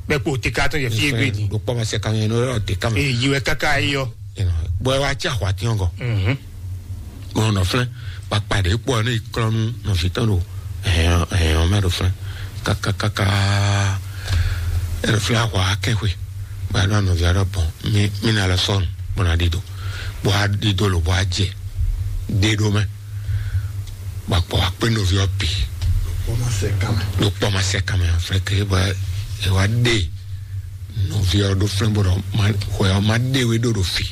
Bɛ kpo te ka tɔn yɛ fie gbe di. Ɖo kpɔmɔ sɛ kan yɛ nɔ yɔ te kan. Ee, yi wɛ kaka yi yɔ. Bɔ ɛ wa tsi ahwa tiɲɔ gɔ. Mhm. Mɔ nɔ flɛ kpakpa ɖe kpɔ ne klɔnu nɔ fi tɔn do ɛhɛn ɛhɛn mɛ do flɛ kaka kaka. Ɛrɛ flɛ ahwa akɛnxwe. Ba nɔ nɔvi aɖe bɔn mi mi na lɛ sɔnu bɔn na ɖi do bɔ a ɖi do lo bɔ a jɛ ɖe ɖo mɛ. Bɔ akpɔ akpé nɔvi ɔ pi. Ɖo kpɔ ma sɛ kame. Ɖo kpɔ ma sɛ kame aflɛ ke bɔ e wa ɖe nɔvi ɔ ɖo flɛ bɔ ɖɔ ma xɔ ya ma ɖe we ɖo ɖo fi.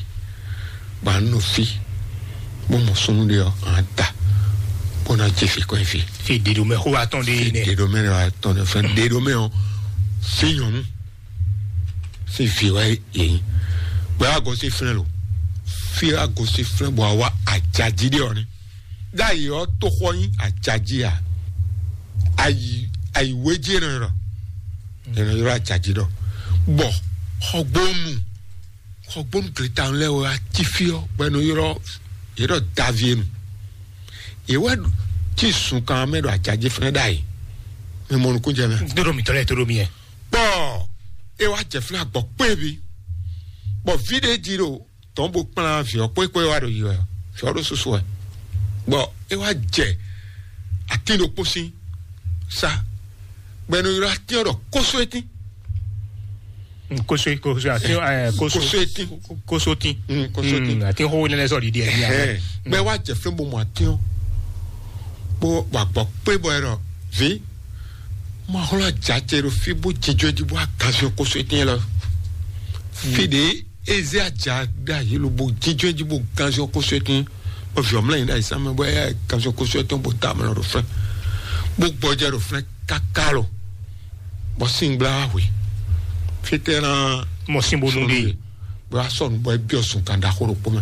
Ba nɔ fi bó mɔ sunu ɖe ɔ an ta bó na dze fi kɔ fi. Fi ɖiɖo mɛ xó wa tɔn ɖe yi nɛ. Ɖiɖo mɛ wa tɔn ɖe fɛn ɖiɖo mɛ ɔ fi nyɔnu fi fi wa yɛ yi. Bɔ a gɔ si flɛ lo fi a gɔ si flɛ bɔ a wa ajaji ɖe ɔ ne. Ɖ'ayǐ ɔ́, toxɔ nyí ajají a? Ayi ayi wéjí e nɔ ylɔ́ e nɔ ylɔ́ ajají ɖɔ. Bɔ xɔgbónu xɔgbónu gleta lɛ́ɛ wɛ wá cí fí ɔ́ bɔ e nɔ ylɔ́ yě ɖɔ Davienu. Yě wɛ cí zunkan mɛ ɖo ajají fɛnɛ ɖ'ayǐ. Mi mɔ nukún jɛ mɛ. Dóɖo mǐtɔn lɛ́ɛ tóɖó mi yɛ. Bɔ e wá jɛ fɛnɛ agbɔ kpé bi. Bɔ ví ɖé jí ɖo tɔn bó kplán vǐ ɔ́ kpókpó e wá ɖo yi wɛ ɔ́, vǐ ɔ́ ɖo susu wɛ, bɔ é wá jɛ atín ɖokpó sín sá, bɔ è nɔ ylɔ́ atín ɔ́ ɖɔ kósó étín. Koso koso ati ɛ koso Koso étín. Koso tin. Mm, koso tin. Ati xo ne lɛ sɔ ɖiɖi ɛ ni Ɛhɛn. Bɛ wá jɛ fɛn bó mɔ atín ɔ́ bó wà gbɔ kpé bɔ ɛ ɖɔ vǐ ma xlɔ ajá ce ɖo fí bó jijɔ jí bó aganzɔ koso étín lɔ fi ɖe eze aja ɖe ayi lo bó jijɔ jí bó ganzɔ koso étín bó viɔ mlɛ yin ɖe ayi same bó ɛ ganzɔ koso étín bó da mlɔ ɖo fɛ bó gbɔjɛ ɖo fɛ kaka lo bɔ sin gbla hwe fitɛ na mɔ sin bonu de bɔ asɔ nu bɔ ebiɔ sun kan ɖaxó ɖokpó mɛ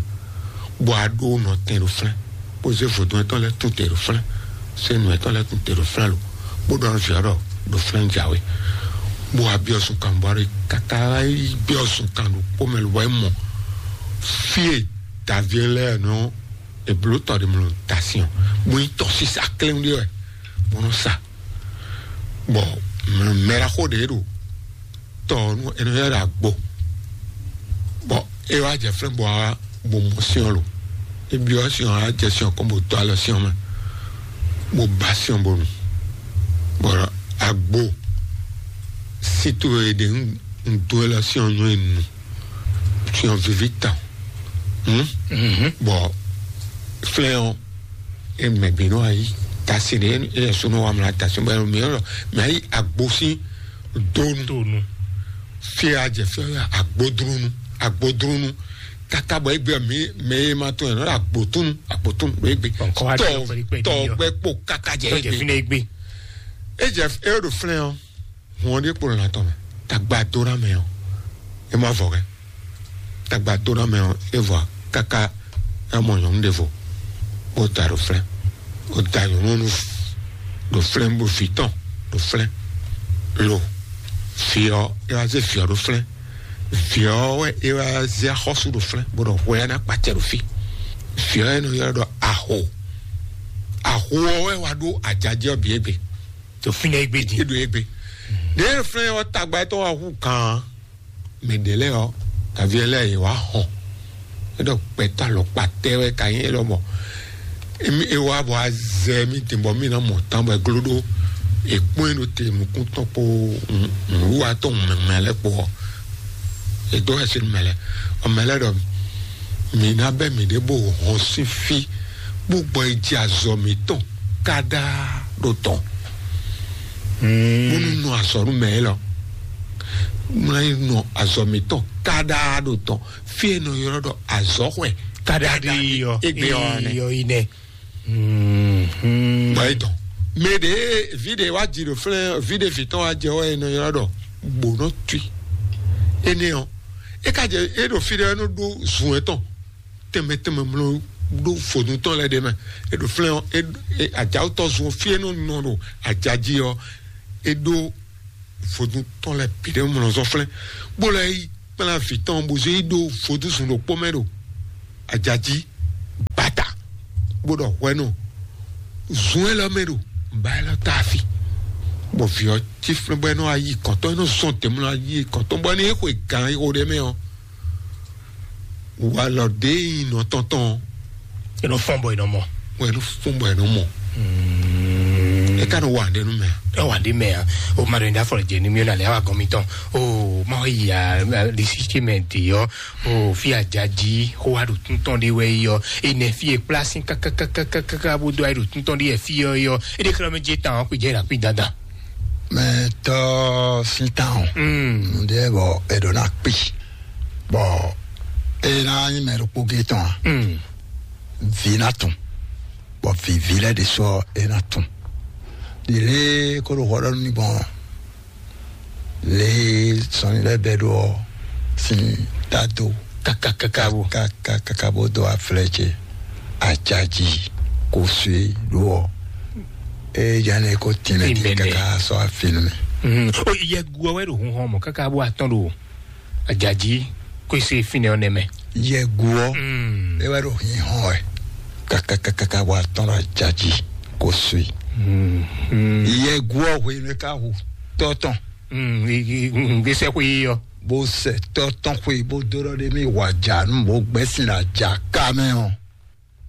bɔ aɖo nɔtɛn ɖo flɛn bó zé vodun etɔn lɛ tún te ɖo flɛn senu etɔn lɛ tún te ɖo flɛn lo bó ɖɔ nɔ viɔ ɖɔ ɖo flɛn jawe bó abiɔ sun kan bɔ ɖe kaka biɔ sun kan ɖokpó mɛ lo bɔ emɔ fie davi lɛ nɔ eblo tɔ ɖe mlɔ tasiɔn bó yi tɔ sisa klɛn ɖe wɛ bó nɔ sa bɔ mɛɖaxó ɖe ɖo tɔ ɔ́ nú ɛnɛ yɛ ɖo agbo bɔ é wá jɛ flɛ́ bɔ á bo mɔ syɔ́n lo é byɔ́ syɔ́n á jɛ syɔ́n kɔn bo dó alɔ syɔ́n mɛ bo ba syɔ́n bo nu bɔ agbo sító e ɖe un dó e lɔ syɔ́n nú e nu syɔ́n vivi tɔn bɔ flɛ́ ɔ́ é mɛ bi nɔ ayi Tasi ɖe e súnnu wa mla tasi bɔ mi yɔ mɛ ayi agbo sín donu. Donu. Fia jɛ fia agbodrunu, agbodrunu. Kaka bɔ egbe mi mɛ e ma tɔn yɛ nɔ agbotunu, agbotunu ɖo egbe. Tɔ tɔgbɛ kpo kaka jɛ egbe. Fine egbe. E jɛ e ɖo flɛ ɔ. Hun ɔ́ ɖíe kpo lɔn atɔn mɛ. Tagba dó ná mɛ ɔ, e ma vɔ kɛ. Tagba dó ná mɛ ɔ, e vɔ káká ná mɔ nyɔ̌nu ɖěvo, bó da ɖo flɛ́, bó da nyɔ̌nu ɖo flɛ́, bó vǐ tɔn ɖo flɛ́. Lo, vǐ ɔ́, e wá zé vǐ ɔ́ ɖo flɛ́. Vǐ ɔ́ wɛ e wá zé axɔ́sú ɖo flɛ́, bó ɖɔ hwɛ ɔ́ ná kpacɛ ɖo fí. Vǐ ɔ́ e nɔ ylɔ́ ɖɔ aho. Aho ɔ́ wɛ wá ɖó ajajɛ ɔ́ bǐ égbé. To fínɛ́ égbé din. Éɖo égbé. Ɖě flɛ́ ɔ́ tagba tɔn wá hú gǎn. Mɛ ɖě lɛ́ɛ ɔ́, kaví lɛ́ɛ yě wá hɔn. É ɖɔ gbɛtɔ́ alɔkpa tɛ́ wɛ ka nyí élɔ́ mɔ. Émi é wá bɔ azɛ mì din bɔ mì ná mɔ tán bɔ é gló ɖó. È kpɔ́n ɛ ɖo te nukún tɔn kpó nǔwiwa tɔn mɛmɛ lɛ́ɛ kpó ɔ́. È dó ɛsɛ mɛ lɛ́ɛ. Ɔ mɛ lɛ́ɛ ɖɔ mǐ ná bɛ́ mǐɖée bó hɔn sín fí bó gbɔ yi jɛ azɔ̌ mǐtɔn káɖá ɖo tɔn. Bónú nɔ azɔ̌ nú mɛ élɔ́. Mlá yi nɔ azɔ̌ mǐtɔn káɖá ɖo tɔn. Fí e nɔ ylɔ́ ɖɔ azɔ̌xwɛ káɖá ɖi yɔ égbé ɔ́ nɛ. Yɔ yi nɛ. Bɔ yi tɔn. Mɛ ɖe vi ɖe wá ji ɖo flɛ́ vi ɖe vǐ tɔn wá jɛ wɛ e nɔ ylɔ́ ɖɔ gbǒnɔ tui. Énɛ́ ɔ́, é ka jɛ é ɖo fí ɖé é nɔ ɖó zun etɔn tɛnmɛ tɛnmɛ mlɔ ɖó vodun tɔn lɛ ɖe mɛ. E ɖo flɛ́ ɔ́, e e ajawutɔ zun fí e nɔ nɔ ɖo ajají ɔ́, e ɖó vodun tɔn lɛ bǐ ɖe mlɔ zɔn flɛ́, bó lɛ yi kplá vǐ tɔn bó zé yi ɖó vodun zun ɖokpó mɛ ɖo ajají bata, bó ɖɔ hwɛnu zun élɔ́ mɛ ɖo ba élɔ́ ta afi, bɔ vǐ ɔ́ cí flɛ́ bɔ é nɔ ayi kɔntɔn, é nɔ zɔn tɛmlɔ ayi kɔntɔn bɔ é nɔ yi xwe gǎn xo ɖé mɛ ɔ́. Walɔ ɖe yi nɔ tɔntɔn. Enɔ fɔn bɔ enɔ mɔ. Wɛ nu fɔn bɔ enɔ mɔ. Eka nɔ wa ɖe nu mɛ. Ɛ wa ɖe mɛ a. O ma ɖo yin da fɔlɔ jɛ ni mi o na le awa gɔn mi tɔn. O ma yi a di si ti mɛ di yɔ. O fi a ja ji xo wa ɖo tuntɔn de wɛ yɔ. Enɛ fi e kpla sin kakakakaka bo do ayi ɖo tuntɔn de yɛ fi yɔ yɔ. E de xlɔ mi je tan o kpi jɛ la kpi dandan. Mɛ tɔ sin tan o. Nde bɔ e ɖo na kpi. Bɔ e ná nyí mɛ ɖokpó gé tɔn a? Vǐ ná tun. Bɔ vǐví lɛ́ɛ ɖésú ɔ́, é ná tun. Ɖi lě kó ɖo hwɔ ɖɔ nú mi gbɔn lě sɔnni lɛ́ɛ bɛ́ ɖó ɔ́ sín dado. Kakakaka bo. Kakakaka bo dó aflɛ ce ajaji kó sue ɖó ɔ. Eye jane kó tɛnɛ Tɛnɛ. Kaka sɔ afinu mi. O yɛ gu ɔ́ wɛ ɖo hun hɔn mɔ kaka bo atɔn ɖo ajaji kó se fínɛ ɔ́ nɛ mɛ. Yɛgu ɔ́, e wɛ ɖo hinhɔn wɛ kakakakaka wa tɔn ɖo ajaji kó sui. Yɛgu ɔ́ hwenu e ka hu tɔ́ tɔn. Gbèsè xwe yɔ. Bó sɛ tɔ́ tɔn xwe bó dó ɖɔ ɖé mi wà jà nú bó gbɛ́ sin ɖo ajà ká mɛ ɔ́.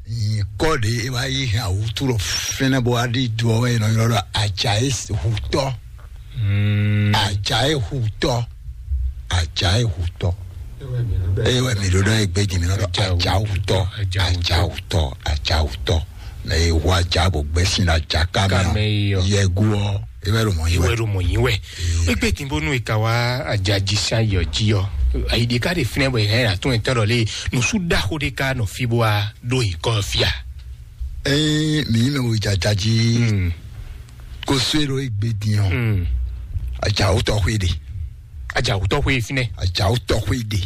Nyǐkɔ ɖě é wá yí hɛn awǔtu ɖo fínɛ́ bó wá ɖi do ɔ́ wɛ è nɔ ylɔ́ ɖɔ ajayi hutɔ́. Ajayi hutɔ́. Ajayi hutɔ́. Eye wɛ mǐ ɖo ɖɔ egbe din mǐ nɔ ɖɔ ajawutɔ́. Ajawutɔ́. Ajawutɔ́. Mɛ e hu aja bó gbɛ́ sin ɖo ajaká mɛ ɔ́, yɛgu ɔ́ é wɛ ɖo mɔ̌ yí wɛ. Iwɛ ɖo mɔ yín wɛ. Egbe din bónú e ka wá ajaji sín ayɔ jí ɔ́, ayi ɖe ká ɖe fínɛ́ bɔ è hɛn atún etɔn ɖɔ lé nǔsú ɖaxó ɖé ká nɔ fí bó wá ɖó nyǐkɔ ɔ́ fí a? Ényí mǐ nyí mɛ wějaja jí kó sú é ɖo égbé din ɔ́, ajawutɔ́ xwé ɖe. Ajawutɔ́ xwé fínɛ́. Ajawutɔ́ xwé ɖe.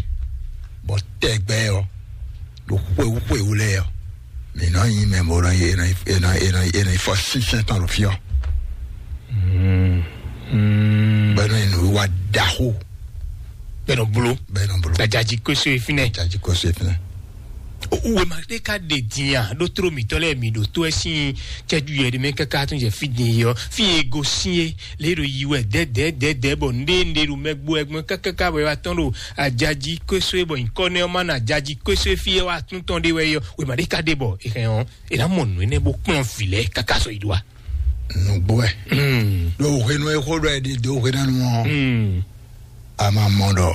Bɔ tɛgbɛ ɔ́, ɖo xwéwú xwéwú lɛ́ɛ ɔ́, mǐ nɔ nyí mɛ bó nɔ yi, è nɔ yi, è nɔ yi, è nɔ yi, è nɔ yi fɔ sínsɛ́n tɔn ɖo fí ɔ́. Bɔ é nɔ yi nǔ wa ɖaxó. Bɛ nɔ blo. Bɛ nɔ blo. Gbadzaji kóso e fínɛ́. Gbadzaji kóso e fínɛ́. Wema ɖé ka ɖe din a? Ɖó tló mǐtɔn lɛ́ɛ mi ɖo tó ɛ sín cɛ́jú yɛ ɖé mɛ káká tún jɛ fí din yi ɔ́, fí e go sín é lě ɖo yi wɛ dɛ̌dɛ̌dɛ̌dɛ̌ bɔ nɖé nɖé ɖo mɛ gbó ɛ gbɔn kákáká bɔ é wá tɔ́n ɖo ajaji kóso é bɔ nyǐkɔ nɛ́ ɔ́ má nɔ ajaji kóso é fí é wá tún tɔn ɖé wɛ é ɔ́, wema ɖé ka ɖe bɔ è hɛn ɔ́ è nǎ mɔ nǔ énɛ́ bó kplɔ́n vǐ lɛ́ɛ káká sɔ yi ɖó a? Nǔgbó wɛ. Ɖo hwenu e xó ɖɔ ɛ ɖi dó hweɖánu ɔ́, a ma mɔ ɖɔ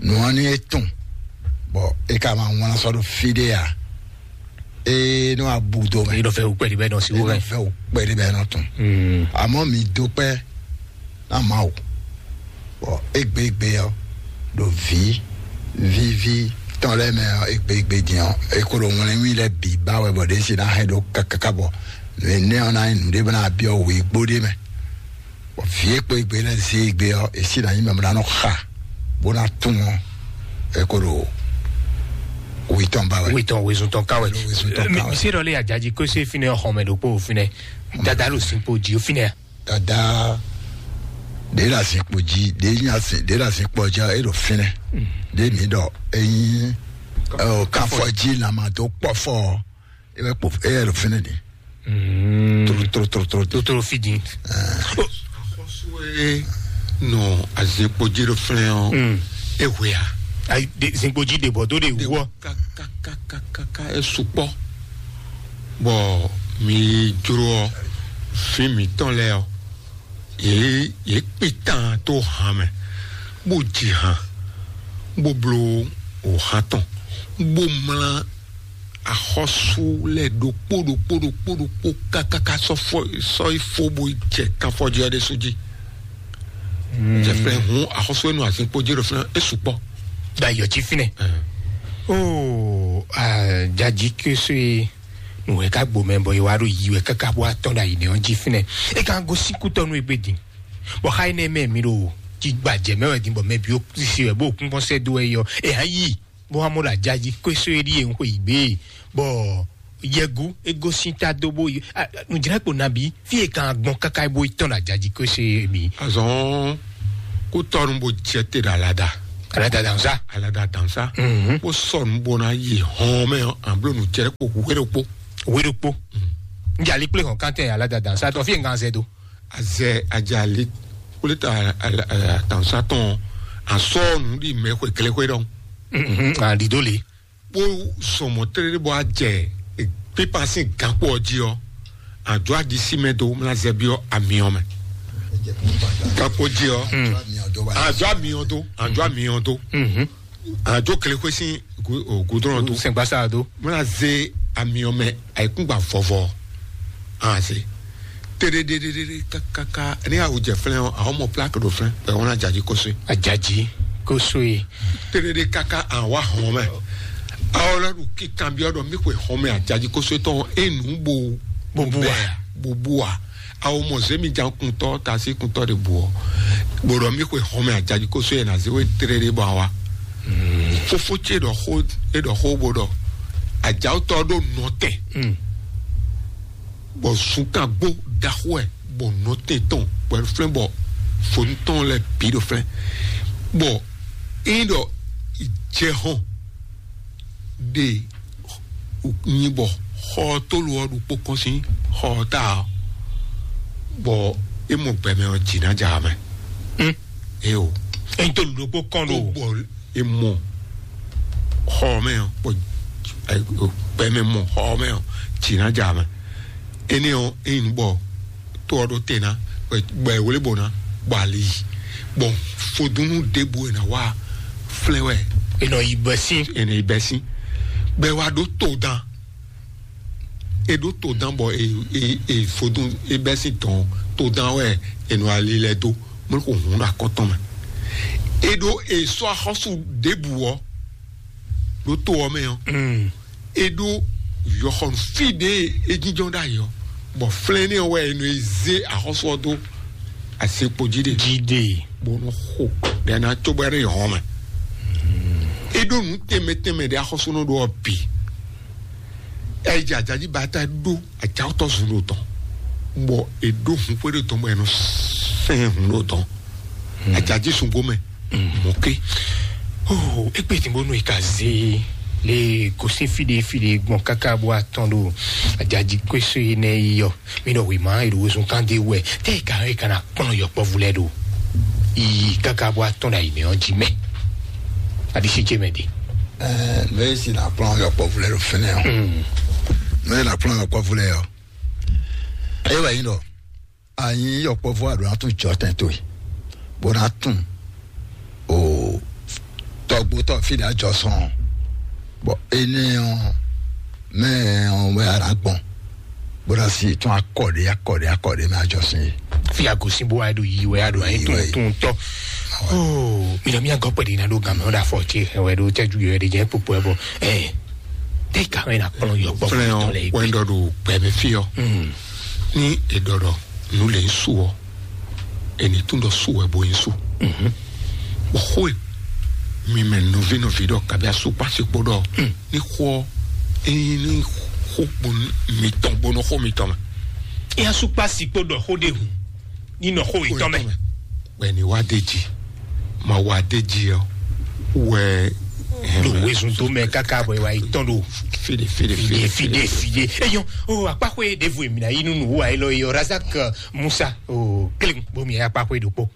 nǔ ɔ́ ní é tún bɔ é ka ma wlán sɔ́ ɖo fí ɖé a? Ee, nɔ abu do mɛ. Yi nɔ fɛ wukpɛ di bɛ nɔ si wo Nɔ mɛ. Fɛ wukpɛ di bɛ nɔ tun. Mm. Àmọ́ mi dó pẹ́ ná Mawu. Bɔ égbégbé ɔ́, ɖo vǐ víví tɔn lɛ́ɛ mɛ ɔ́, égbégbé din ɔ́, é ko ɖo wlɛnwí lɛ́ɛ bǐ ba wɛ bɔ ɖě si ná hɛn ɖó káká bɔ nǔ énɛ́ ɔ́ ná nyí nǔɖé bɔ ná byɔ́ wěgbó ɖé mɛ. Bɔ vǐ e kpo égbé lɛ́ɛ zé égbé ɔ́, é si ná nyí mɛ bɔ ná nɔ xa bó ná tún ɔ́, é ko ɖo wí tɔn ba wɛ. Wí tɔn wezun tɔn ká wɛ. Wezun tɔn ká wɛ. Mi se ɖɔ lé ajaji kó se fínɛ xɔmɛ ɖokpó fínɛ. Dada ɖo sin kpo jí fínɛ. Dada ɖě ɖo azinkpo jí, ɖě nyi asi ɖě ɖo azinkpo jí, é ɖo fínɛ. Ɖě mǐ ɖɔ é nyí ɔ, káfɔ jí lanmado kpɔfɔ ɔ́, é wɛ kpo é wɛ ɖo fínɛ ɖě. Tro tro tro tro tro. Totoro fi din. Axɔsúwe nɔ azinkpo jí ɖo fínɛ ɔ́, é hwe a? Ayi de zinkpo jí de bɔ dó de wú ɔ. Kakakakaka é sukpɔ. Bɔ mi jló ɔ, fí mǐtɔn lɛ́ɛ ɔ, yě yě kpé tán tó han mɛ, bó ji han, bó bló wǒhan tɔn, bó mlá axɔ́sú lɛ́ɛ ɖokpó ɖokpó ɖokpó ɖokpó kákáká sɔ́ fɔ sɔ́ yi fó bó jɛ kanfɔjí ɔ́ ɖésú jí. Jɛ flɛ hun axɔ́sú e nɔ azinkpo jí ɖo fínɛ é sukpɔ. Da yɔ jí fínɛ. Oo, jaji késó e nǔ wɛ ká gbo mɛ bɔ e wá ɖo yi wɛ káká bó atɔn ɖo ayi nɛ ɔ́ jí fínɛ. E ka gosín kútɔ́ nú egbe din. Bɔ xa énɛ́ mɛ mi ɖo jí gbajɛ mɛ wɛ din bɔ mɛ bǐ ó sisi wɛ bó kún kɔn sɛ dó wɛ yɔ. E hã yi bó wá mɔ ɖo ajaji kó eso e ɖíe ń xwe yi gbé. Bɔ yɛgu é gosín ta dó bó yi. Nǔjlɛ́kpo nabí fí e kan gbɔn káká bó yi tɔn ɖo ajaji kó eso e mi. Azɔn kó tɔnu bó jɛ te ɖo alada. Alada dansa. Alada dansa. Mhm. Bó sɔnu bó ná yi hɔn mɛ an blo nǔjlɛ́kpo wéɖokpo. Wéɖokpo. Njali kplé hɔn kántɛ alada dansa tɔ fí e ngan zɛ do. Azɛ ajali kplé ta atansa tɔn asɔ nǔ ɖi mɛ xwe kléxwe ɖɔn. Mhm. Adido le. Bó sɔmɔ tlélé bɔ ajɛ pípa sín gankpó ɔ́ jí ɔ́, àjọ àdísí mɛ dó mlá zɛbí ɔ́ amiɔ mɛ. Gankpó jí ɔ́, àjọ amiɔ dó, àjọ amiɔ dó, àjọ kléxwé sín gudrɔn dó. Sɛngbasa dó. Mlá zé amiɔ mɛ ayikúngba vɔvɔ. An se. Tedededede kakaka ní awu jɛ flɛn ɔ, àwọn ọmọ plaki ɖo flɛn bɛ wọn ajaji kóso. Ajaji kóso ye. Tedede kaka àwa hɔn mɛ. Awo lɔ ɖu kíkan bí ɔdɔ mi xwe hɔn mɛ ajaji kóso tɔn enu bo. Bobu wa. Bobu wa. Awo mɔ zemi jan kuntɔ tasi kuntɔ de bu ɔ. Gbɔdɔ mi xwe hɔn mɛ ajaji kóso ye na zewe tedede bɔ awa. Fofo ce ɖɔ xó e ɖɔ xó bo ɖɔ. Ajawo tɔ ɖo nɔtɛ. Bɔ zunkan gbó ɖaxó ɛ bɔ nɔtɛn tɔn bɔ flɛn bɔ fonu tɔn lɛ bi ɖo flɛn bɔ eyin ɖɔ jɛ hɔn ɖe nyi bɔ xɔ tolu ɔ ɖokpó kɔn sín xɔ ta ɔ bɔ e mɔ gbɛmɛ ɔ dzi na dza mɛ. Eo. Eyin tolu ɖokpó kɔn ɖo. Bɔ e mɔ xɔ mɛ ɔ bɔ gbɛmɛ mɔ xɔ mɛ ɔ dzi na dza mɛ. Énɛ́ ɔ́, ényí nǔ bɔ tó ɔ́ ɖó te ná, bɔ è wlé bó ná, bɔ ali yi, bɔ fodúnú ɖěbǔ è nǎ wá flɛ́ wɛ. È nɔ yi bɛ́ sín. È nɔ yi bɛ́ sín. Bɔ è wá ɖó to dán. È ɖó to dán bɔ è è è fodún è bɛ́ sín dɔn to dán wɛ è nɔ ali lɛ́ɛ dó. Mɔ̌ kò hun ɖo akɔ́tɔn mɛ. È ɖó è sɔ́ axɔ́sú ɖěbǔ ɔ́ ɖó to ɔ́ mɛ ɔ́. E ɖó yɔxɔnu fí ɖě e jínjɔ́n ɖ'ayǐ ɔ́, bɔ flɛ́nɛ ɔ́ wɛ e nɔ e zé axɔ́sú ɔ́ dó asekpo jí ɖe. Jí ɖe. Bó nɔ xo ɖe ná cóbɔ ɖe hɔn mɛ. E ɖó nǔ tɛnmɛ tɛnmɛ ɖe axɔ́súnɔ ɖó ɔ́ bǐ. Ɛ yi jɛ ajají ba ta ɖó ajáwótɔ́ zun ɖo tɔn, bɔ e ɖó hun xwé ɖo tɔn bɔ e nɔ sɛn hun ɖo tɔn. Ajají sun gomɛ. Mɔke. Oh, ekpe tí mo nù ìka zé lé gosín fìdí fìdí gbɔn káká bó atɔn ɖo ajají kwésó yi nɛ yi yɔ. Mi nɔ wì má ìlú wosùn kan dé wɛ tẹ́ ìka yɛ kana kpɔn yɔ kpɔvu lɛ ɖo. Iyi káká bó atɔn ɖo ayǐmɛ ɔ́ jí mɛ. Adisi jɛ mɛ di. Ɛɛ mɛ si na kplɔn yɔ kpɔvu lɛ ɖo fɛnɛ ɔ. Mɛ na kplɔn yɔ kpɔvu lɛ ɔ. Eye wà yín ɖɔ anyi yɔkpɔvɔ aɖo na tún jɔ tɛn towe bó na tún o tɔgbótɔ fi ɖe ajɔ sɔn bɔ énɛ́ ɔ́ Mɛ ɔn wɛ ara gbɔn bó ná sí tún akɔɖe akɔɖe akɔɖe mɛ ajɔ sí. Fi agosin bó wá ɖo yi wɛ aɖo ayi tún tún tɔ. Oh, mi lɔ mi agɔ pɛ di na ɖo gamɛ ɔn ɖa fɔ tse wɛ ɖo tɛju yɔ ɖe jɛ kpokpo ɛ bɔ ɛ tɛ ka wɛ na kplɔn yɔ gbɔ. Fúnɛ ɔn wɛ ɖɔ ɖo gbɛmɛ fi ɔ. Ní èɖɔɖɔ nǔ lě ń su ɔ́, è nǐ tún ɖɔ su wɛ bó nyí su. Bɔ xó e mi mɛ nɔví nɔví ɖɔ kabi asukpasi kpó ɖɔ ní xó ɔ́, é nyí ní xó kpo mitɔn bó nɔ xó mitɔn mɛ. É asukpasi kpó ɖɔ xó ɖé hǔn ní nɔ xó yětɔn mɛ. Bɔ è nǐ wá d'é jí, ma wá d'é jí ɔ́ wɛ. Ɖo wezun tó mɛ káká bɔ ìwà yìí tɔn ɖo fide fide fide fide fide. Eyɔn o akpaxwe ɖevo èmi na yi nunu wa elɔ yɔ Razak Musa o kelen bomi akpaxwe ɖokpó.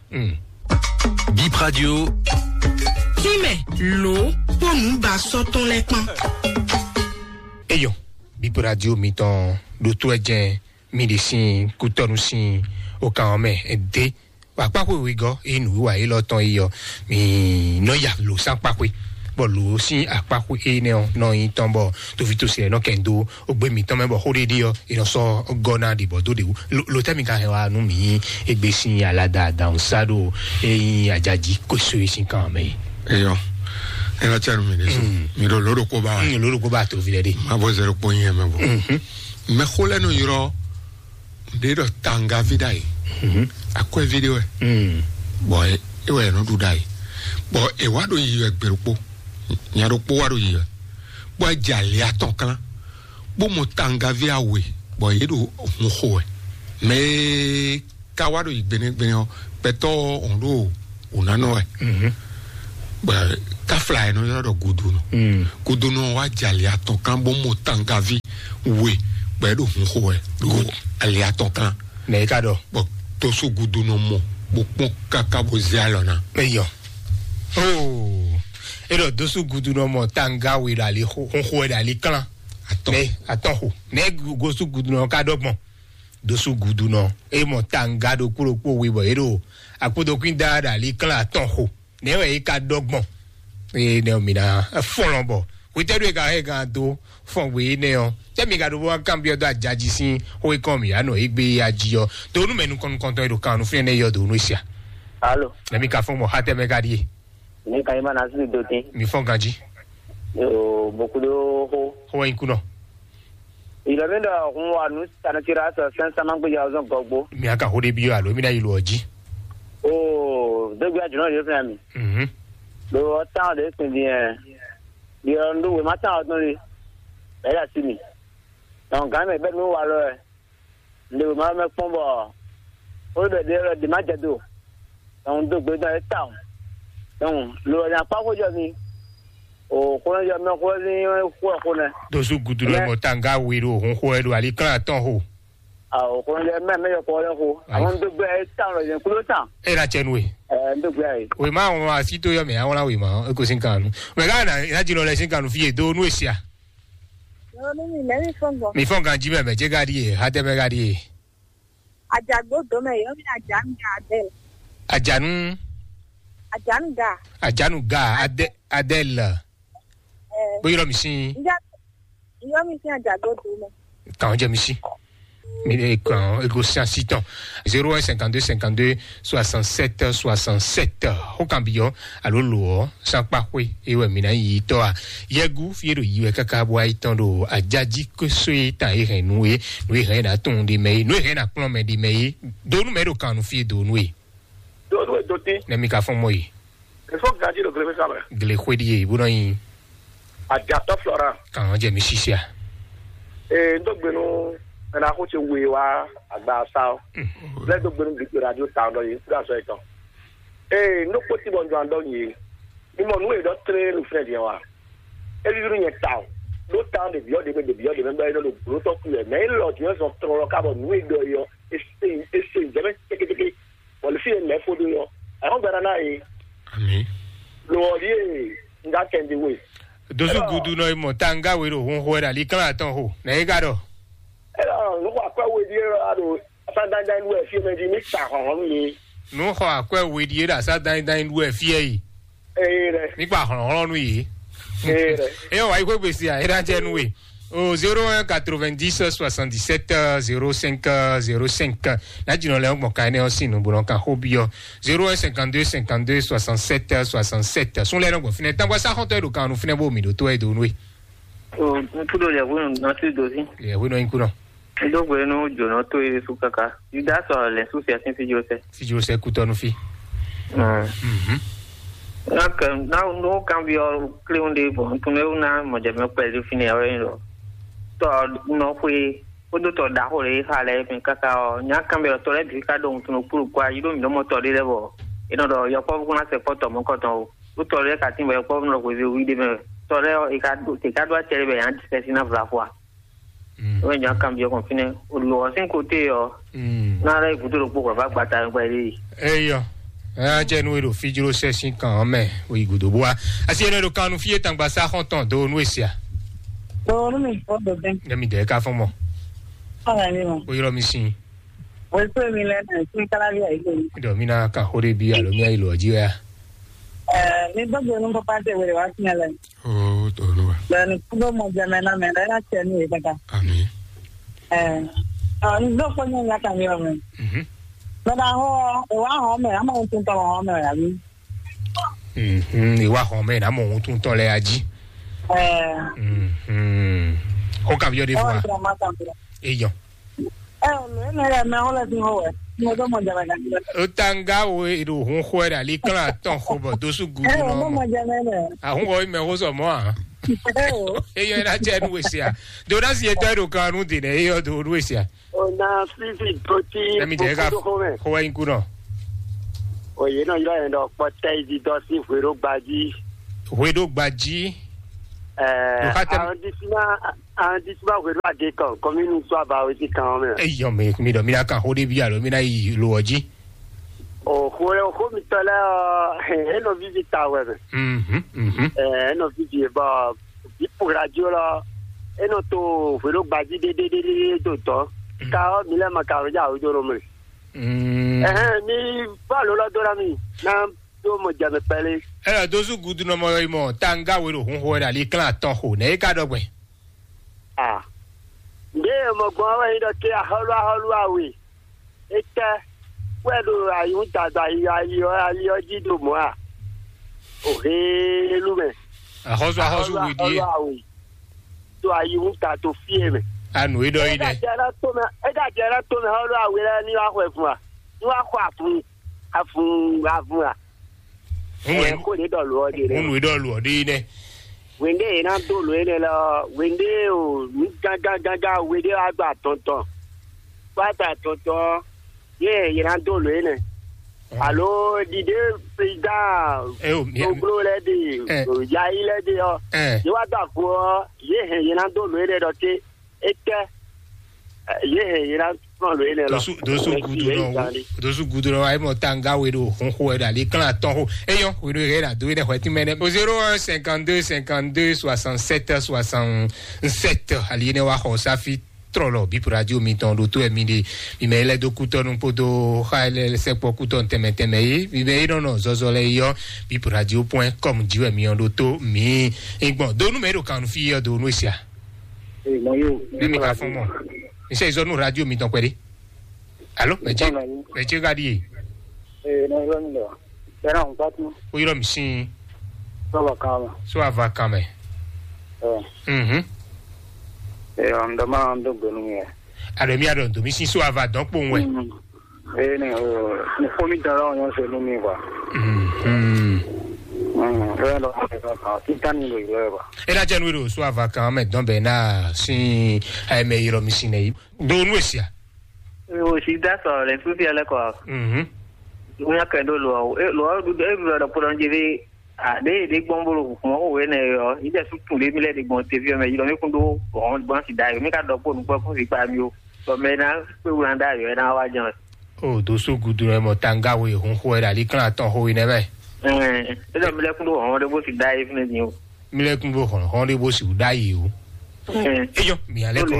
Bip Radio. Kínmɛ ló kpó nǔ ba sɔ́ tɔn lɛ́ kpán. Eyɔn Bip Radio mitɔn ɖo tó ɛ jɛn mi ɖe sin kutɔnu sin o kan ɔ́ mɛ dé. Akpaxwe wegɔ́ e nǔwiwa élɔ́ tɔn yi ɔ́, mi nɔ ya lǒ sín akpaxwe, bɔ lǒ sín akpaxwe énɛ́ ɔ́ nɔ nyí tɔn bɔ tovítɔ́sí lɛ́ɛ nɔ kɛn dó ogbe mǐtɔn mɛ bɔ xó ɖé ɖe ɔ́, è nɔ sɔ́ gɔ́ ná ɖi bɔ dó ɖe wú. Lo tɛ́ mi ka hɛn wá nú mǐ nyí égbé sín alada adawun sá ɖo é nyí ajají kóso é sín kan mɛ é? Eyɔ, ena tsɛ nu mi ɖe so. Mi ɖo lǒ ɖokpó ba wa. Lǒ ɖokpó ba toví lɛ ɖe. Ma bɔ zɛ ɖokpó nyi ɛmɛ bɔ. Mɛ xó lɛ nɔ yrɔ ɖe ɖɔ tangavi ɖa yi. Akwɛvi ɖe wɛ. Bɔ é wɛ nɔ ɖu ɖa yi. Bɔ è wá ɖo yi wɛ gbe ɖokpó. Nya ɖokpó wá ɖo yi wɛ. Bɔ é jɛ ali atɔn klán. Bó mɔ tangavi awe bɔ yě ɖo hun xo wɛ. Mɛ e ka wá ɖo yi gbenegbene ɔ́, gbɛtɔ́ ɔ́ hɔn ɖo wǔnánɔ wɛ. Bɔ káfla ɛ nɔ ylɔ́ ɖɔ gudunɔ. Gudunɔ wá jɛ ali atɔn kan bó mɔ tangavi we bɔ é ɖo hun xo wɛ ɖo ali atɔn kan. Nɛ é ka ɖɔ? Bɔ toso gudunɔ mɔ bó kpɔn káká bó zé alɔ ná. Eyɔ. Oh. É ɖɔ dosu gudunɔ mɔ tanga we ɖo ali xo xo wɛ ɖo ali klán. Atɔn. Nɛ atɔn xo. Nɛ gosu gudunɔ ka ɖɔ gbɔn. Dosu gudunɔ é mɔ tanga ɖokpó ɖokpó we bɔ é ɖo akpódokún da ɖo ali klán atɔn xo. Nɛ wɛ é ka ɖɔ gbɔn. Eye nɛ mi na fɔlɔn bɔ wetɛɖu e ka hɛn gan do fɔn gbe énɛ́ ɔ́, tɛ mi ka ɖo bó wá kanbyɔ́ dó ajaji sín xó e kɔn mǐ ya nɔ égbé ya jí ɔ́, do nú mɛ nukɔn nukɔntɔn e ɖo kan nú fínɛ́ nɛ́ yɔ do nú e sia. Alo. Nɛ mi ka fɔn bɔ xá tɛ mɛ ka ɖíe. Mi ka yi ma na sí do tín. Mi fɔn ganji. Yoo, bokudo xó. Xó wɛ nyi kunɔ. Ìlọ mi ɖɔ hun wa nǔ sanitira sɔ sɛn sama gbéjà ɔzɔn gɔgbo. Mi aka xó ɖé byɔ́ alo mi ná yi lo ɔ́ jí. Oo, dégbe ajunɔ yóò fún mi. Mhm. Lo ɔtán ɖe kpin diɛ. Diɛ ɔndo wema tán ɔdún li. Ɛyà sí mi. Dɔn gán mɛ bɛ nú wa lɔ ɛ. Ndo ma mɛ kpɔn bɔ. Ó ɖɔ ɖe ɖe ma jɛ do. Dɔn do gbe dɔn ɛ tán. Dɔn lo nya kpá xó jɔ mi. O xó jɔ mɛ xó ní xó xó nɛ. Dosu gudu lɔ mɔ tanga wi ɖo hun xó ɛ ɖo ali klán atɔn xó. Awo xó jɔ mɛ mɛ yɔ kɔ lɛ xó. Ayi. Àwọn do gbɛ ɛ tán lɔ yẹn kúló tán. E na cɛ nu e. Ɛ ndo gbɛ ayi. Wema àwọn asi tó yɔ mɛ àwọn la wema e ko sin kan nu. Mɛ ká na ina jin lɔ lɛ sin kan nu fi e do nu e sia. Yɔmi mi mɛ mi fɔn gbɔ. Mi fɔn kan ji mɛ mɛ jɛ ka di e ha tɛ mɛ ka di e. Ajagbo do mɛ yɔmi ajanu ga adɛl. Ajanu. Ajanu ga. Ajanu ga adɛ adɛl. Ɛ. Bó yɔrɔ mi sin. Njɛ yɔmi sin ajagbo do mɛ. Kàn jẹ mi sí. Mi lè kàn ego sí àsì tán. Zéro un cinquante-deux cinquante-deux soixante-sept soixante-sept. Ó kàn biyɔ alo lò ɔ sanpa xwe ewɛ mi na yi tɔ a. Yɛgu fi ɖo yi wɛ kaka bɔ ayi tɔn ɖo ajaji koso ye tan ye hɛn nu ye nu ye hɛn na tɔn de mɛ ye nu ye hɛn na kplɔn mɛ de mɛ ye. Donu mɛ ɖo kan nu fi donu ye. Donu ye do te. Ne mi ka fɔn mɔ ye. Efɔ gaji ɖo glefe sa mɛ. Gle xwe ɖi ye bó nɔ yi. Ajatɔ Florent. Kàn jẹ mi sisia. Ee, n dó gbenu ɛna xó tse wue wá agba sa ɔ. Lɛ dó gbenu bi radio ta dɔ yi kúrò azɔ etɔn. Ee, n dó kpóti bɔ n jɔ an dɔ yi. Mi mɔ nu e dɔ tlé lu fɛn diɛ wa. Evi nu nyɛ ta o. Ɖó ta ɖe biɔ ɖe mɛ ɖe biɔ ɖe mɛ bɛ ɖo gblo tɔ ku yɛ. Mɛ e lɔ diɛ zɔn trɔ lɔ ka bɔ nu e dɔ yi ɔ. Ese ese jɛ mɛ teke teke. Bɔ le fi ye mɛ fo do yɔ. Ɛhɔn gbɛna na ye. Ami. Lo ɔ ɖie n ga kɛn di we. Dosu gudu nɔ imɔ tanga we ɖo hun xo ɛ ɖo ali kán atɔn xo nɛ e ka ɖɔ. Ɛlɔ nu xɔ akɔ we ɖie lɔ a ɖo asa dandan nu ɛ fi mɛ di mi ta hɔn hɔn nu ye. Nu xɔ akɔ we ɖie ɖo asa dandan nu ɛ fi ɛ yi. Ee ɖe. Mi kpa hɔn hɔn nu ye. Ee ɖe. E wa yi ko gbesi a e ɖa jɛ nu we. Au zéro un quatre-vingt-dix soixante-dix-sept zéro cinq zéro cinq. Ná jìnnà lɛ gbɔn ka énɛ́ ɔ́ sín nǔgbó nɔ kan xó byɔ́. Zéro un cinquante-deux cinquante-deux soixante-sept. Sún lɛ nɔ gbɔn fínɛ́. Tangwa sá xɔntɔn e ɖo kan nú fínɛ́ bó mi ɖo tó e do nú e. O, n kúɖo yɛhwenu nɔtí dozí. Yɛhwenu nɔ nyi kúnɔ. N dó gbe nú jǒnɔ tó e sú káká. Yuda sɔ lɛ sú fia sín fíjó sɛ. Fíjó sɛ kútɔnu fí. Mhm. Ná kɛ ná nú kan byɔ́ kléwún ɖé bɔ n tún ná mɔjɛmɛ kpɛlí fínɛ́ wɛ nyí ɖɔ tɔ nɔ xwé kpódó tɔ ɖaxó lě xa lɛ́ɛ mɛ káká ɔ́, nya kanbyɔ́tɔ́ lɛ́ɛ bǐ ka ɖo wuntun ɖokpó ɖokpó ayi ɖó mǐ ɖó mɔ tɔ ɖé lɛ́ɛ bɔ è nɔ ɖɔ yɔkpɔ́vú kún ná sɛ kpɔ́ tɔ mɔ̌kɔtɔn o. Ɖó tɔ lɛ́ɛ ka tín bɔ yɔkpɔ́vú nɔ hwezí wí ɖé mɛ. Tɔ lɛ́ɛ ɔ́, è ka ɖó è ka ɖó acɛ ɖé bɛ yě ná ɖi fɛ́sín ná vla fɔ a? Mm. Wɛ nya kanbyɔ́ kɔn fínɛ́. O lǒ ɔ́ sín kote ɔ́, mm, ná lɛ́ gúdo ɖokpó bɔ vǎ gbata yɔkpɔ́ yě ɖe yi. Eyɔ. Ɛ jɛ nú e ɖo fíjló sɛ sín kan ɔ́ mɛ, o yi gǔdo bó wá. Asi e nɔ ɖo kan nú fí e tangba sá xɔn tɔn do nú e sia. Ɖo nú mi fɔ dodɛn. Ne mi dɛ ka fɔn mɔ. Fɔn mi mɔ. O yɔrɔ mi sin. O yi kúrò mi lɛ nà sí kálábí àyíkò mi. Dɔ mi na kan xó ɖé bí alo mi ayi lɔ jí wɛ a. Ɛ mi gbɔdɔ nu papa tɛ wele wá sí lɛ. O tolu wa. Bɛ ni kúndó mɔ jɛmɛ na mɛ lɛ na tɛ nu yɛ kaka. Ami. Ɛ ɔ n dó kpɔnyɔ nya kan mi ɔmɛ. Mhm. Mɛ na hɔ ɛ wá hɔ mɛ amɔ n tún tɔ hɔ mɛ yà mi. Mhm, ìwà hàn mẹ́ ìnámọ̀ ohun tó ń tán lẹ́yà jí. Ẹ Mhm. Ó kà bí ọdẹ fún wa. Èèyàn. Ẹ ò lè ní ẹ mẹ ọlẹ tí wọn wẹ ní ọjọ́ mọ jàmbá kan. Ó tá ń gá wo èrò òhun xó ẹ dà lí kán àtọ̀ xó bọ̀ dóṣù gúdú Ẹ ò náà mọ mọ̀. Jàmbá ẹ. Àhún wọ ìmẹ̀ ó sọ̀ mọ́ à. Ẹ ò. Eyọ ẹ náà jẹ́ ẹnu wèsì à. Dòdásì yẹn tọ́ ẹ̀rọ kan ọdún dènà eyọ dòdú wèsì à. Ona fifi doti Emi dɛ ka kpódó xɔmɛ. Xɔ wɛ nyi kunɔ. Oye nɔ ylɔ yẹn ɖɔ kpɔtɛ yi didɔ sí hweɖó gbají. Hweɖó gbají. Ɛɛ Ɖo xa tɛ- arrondissement arrondissement hweɖó agé kan commune sɔ abawe sí kan mɛ. Eyɔ mi mi dɔ mi na kan xó ɖé bí alo mi na yi lo ɔ jí. O xó xó mi tɔ lɛ ɔ e nɔ vivi ta wɛ mɛ. Mhm mhm. Ɛɛ e nɔ vivi bɔ bipu radio lɔ e nɔ to hweɖó gbají ɖéɖéɖéɖé to dɔn. Ka ɔ mi lɛ ma ka ɔ ja o jɔ nɔ mɛ. Mm. Ɛhɛn, mi fɔ alo lɔ dó na mi na dó mɔ jɛ mi kpɛlí. Ela dózú gudu nɔ mɔ yi mɔ tanga we ɖo hun xo wɛ ɖo ali klán atɔn xo nɛ e ka ɖɔ gbɛn. Ah. Nde mɔ gbɔn wɛ yi ɖɔ ke ahɔlu ahɔlu awe. Etɛ wɛ ɖo ayihun dada yi ali ɔ ali ɔ jí ɖo mɔ a. O helu mɛ. Axɔsu axɔsu Ahɔlu wi ahɔlu die. Awe. To ayihun ta to fie mɛ. Anu yi ɖɔ yi Ega nɛ. Jɛ ɖe to mɛ ega jɛ ɖe to mɛ ahɔlu awe lɛ ni wa xɔ fun a. Ni wa xɔ afun afun afun a. Ŋun Ɛ ko ne ɖɔ lo ɔ de nɛ. Ŋun yi ɖɔ lu ɔ ɖi nɛ. Wende yena do lo yene lɔ wende o nu gangan gangan wende wa do atɔntɔn. Wa do atɔntɔn ye yena do lo yene. Alo dide président. Ɛ o mi. Gbogbo lɛ de Ɛ. Yayi lɛ de ɔ. Ɛ. Ye wa do afo ɔ ye hɛn yena do lo yene ɖɔ te. Etɛ ye hɛn yi na sɔn lo yene lɔ. Dosu dosu gudu nɔ wu dosu gudu nɔ ayi mɔ tanga we ɖo xunxo wɛ ɖo ali klan atɔn xo eyɔ we ɖo yɛ ɖo ado yi ɖe xɔ ti mɛ nɛ. O zéro un cinquante-deux cinquante-deux soixante-sept soixante-sept ali yi ne wa xɔ safi trɔlɔ bip radio mitɔn ɖo to ɛmi ɖe mi mɛ yi lɛ do kutɔnu kpodo xa yi lɛ sɛkpɔ kutɔnu tɛmɛ tɛmɛ yi mi mɛ yi nɔnɔ zɔzɔ lɛ yi yɔ bip radio point com ji wɛ mi yɔ ɖo to mi. Igbɔn donu mɛ yi ɖo kanu fi yɔ donu esia. Ee, mɔ yóò. Ne mi ka fɔn mɔ. Mi sɛ izɔ nu radio mi tɔn kpɛɖe. Alo, mɛ ce, mɛ ce ka ɖi ye. Ee, ne yɔ mi lɔ. Bɛna n pati. O yɔrɔ mi sin. Sɔba kan mɛ. So ava kan mɛ. Ɛɛ. Mhm. Ee, n dɔ ma n do gbenu mi yɛ. Alo mi adɔ ndo mi sin so ava dɔn kpo wɛ. Mm. Ee, ne o, ne fo mi dara o nyɔ se nu mi kwa. Mhm. Mm, ee, dɔ ma se ka, ti tan ni lo yɔ kwa. E na jɛ nu do so ava kan mɛ dɔn bɛ na sin ayɛ mɛ yɔrɔ mi sin ne. Do nu esia. O si da sɔ le sufi ale kɔ. Mhm. Nya kɛ do lo o. E lo o du e bi do pɔdɔn je bi a de de gbɔn bolo kuma o we ne yo. I de su tun de mi le de gbɔn te vi me yiro mi kun do bon bon si da yo mi ka do ko nu ko ko si pa mi o. Bɔ mɛ na kpe wlan da yo na wa jan. O do so gudu rɛ mɔ tanga we hun xo rɛ ali klan tɔn xo yi nɛ mɛ. Ɛɛ, e dɔ mi le kun do hɔn de bo si da yi fun ni o. Mi lɛ kun bó xɔn xɔn ɖé bó si wú ɖ'ayǐ o. Eyɔ mi alɛ kɔ.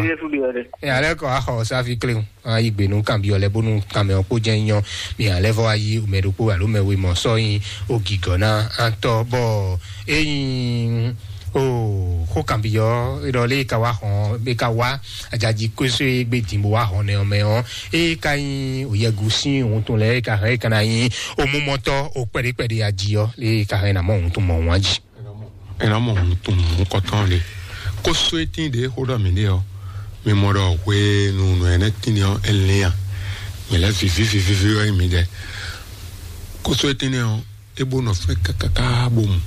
Alɛ kɔ axɔ safi kle ŋu ayi gbe nu kan bi ɔlɛ bónú kan mɛ ɔkpó jɛ nyɔ mi alɛ fɔ ayi mɛ ɖokpó alo mɛ wemɔ sɔ yin ogigɔ na antɔ bɔ eyin O xó kan bi ɔ, e ɖɔ lé ka wá xɔn, be ka wá ajaji kóso e gbé din bó wá xɔn nɛ ɔmɛ ɔ, e ka nyi oyɛgu sín ohun tɔn lɛ, e ka hɛn e ka na nyi omumɔtɔ o kpɛɖe kpɛɖe aji ɔ, lé ka hɛn na mɔ ohun tɔn mɔ wan ji. Ena mɔ ohun tɔn mɔ kɔtɔn le. Kóso e tin ɖe xó ɖɔ mi ɖe ɔ, mi mɔ ɖɔ hwenu nɔ ɛnɛ tin ɔ, e lɛn ya. Mi lɛ vivi vivi vivi ɔ, mi ɖe. Kóso e tin ɔ, e bó nɔ fɛn kákáká bó mu.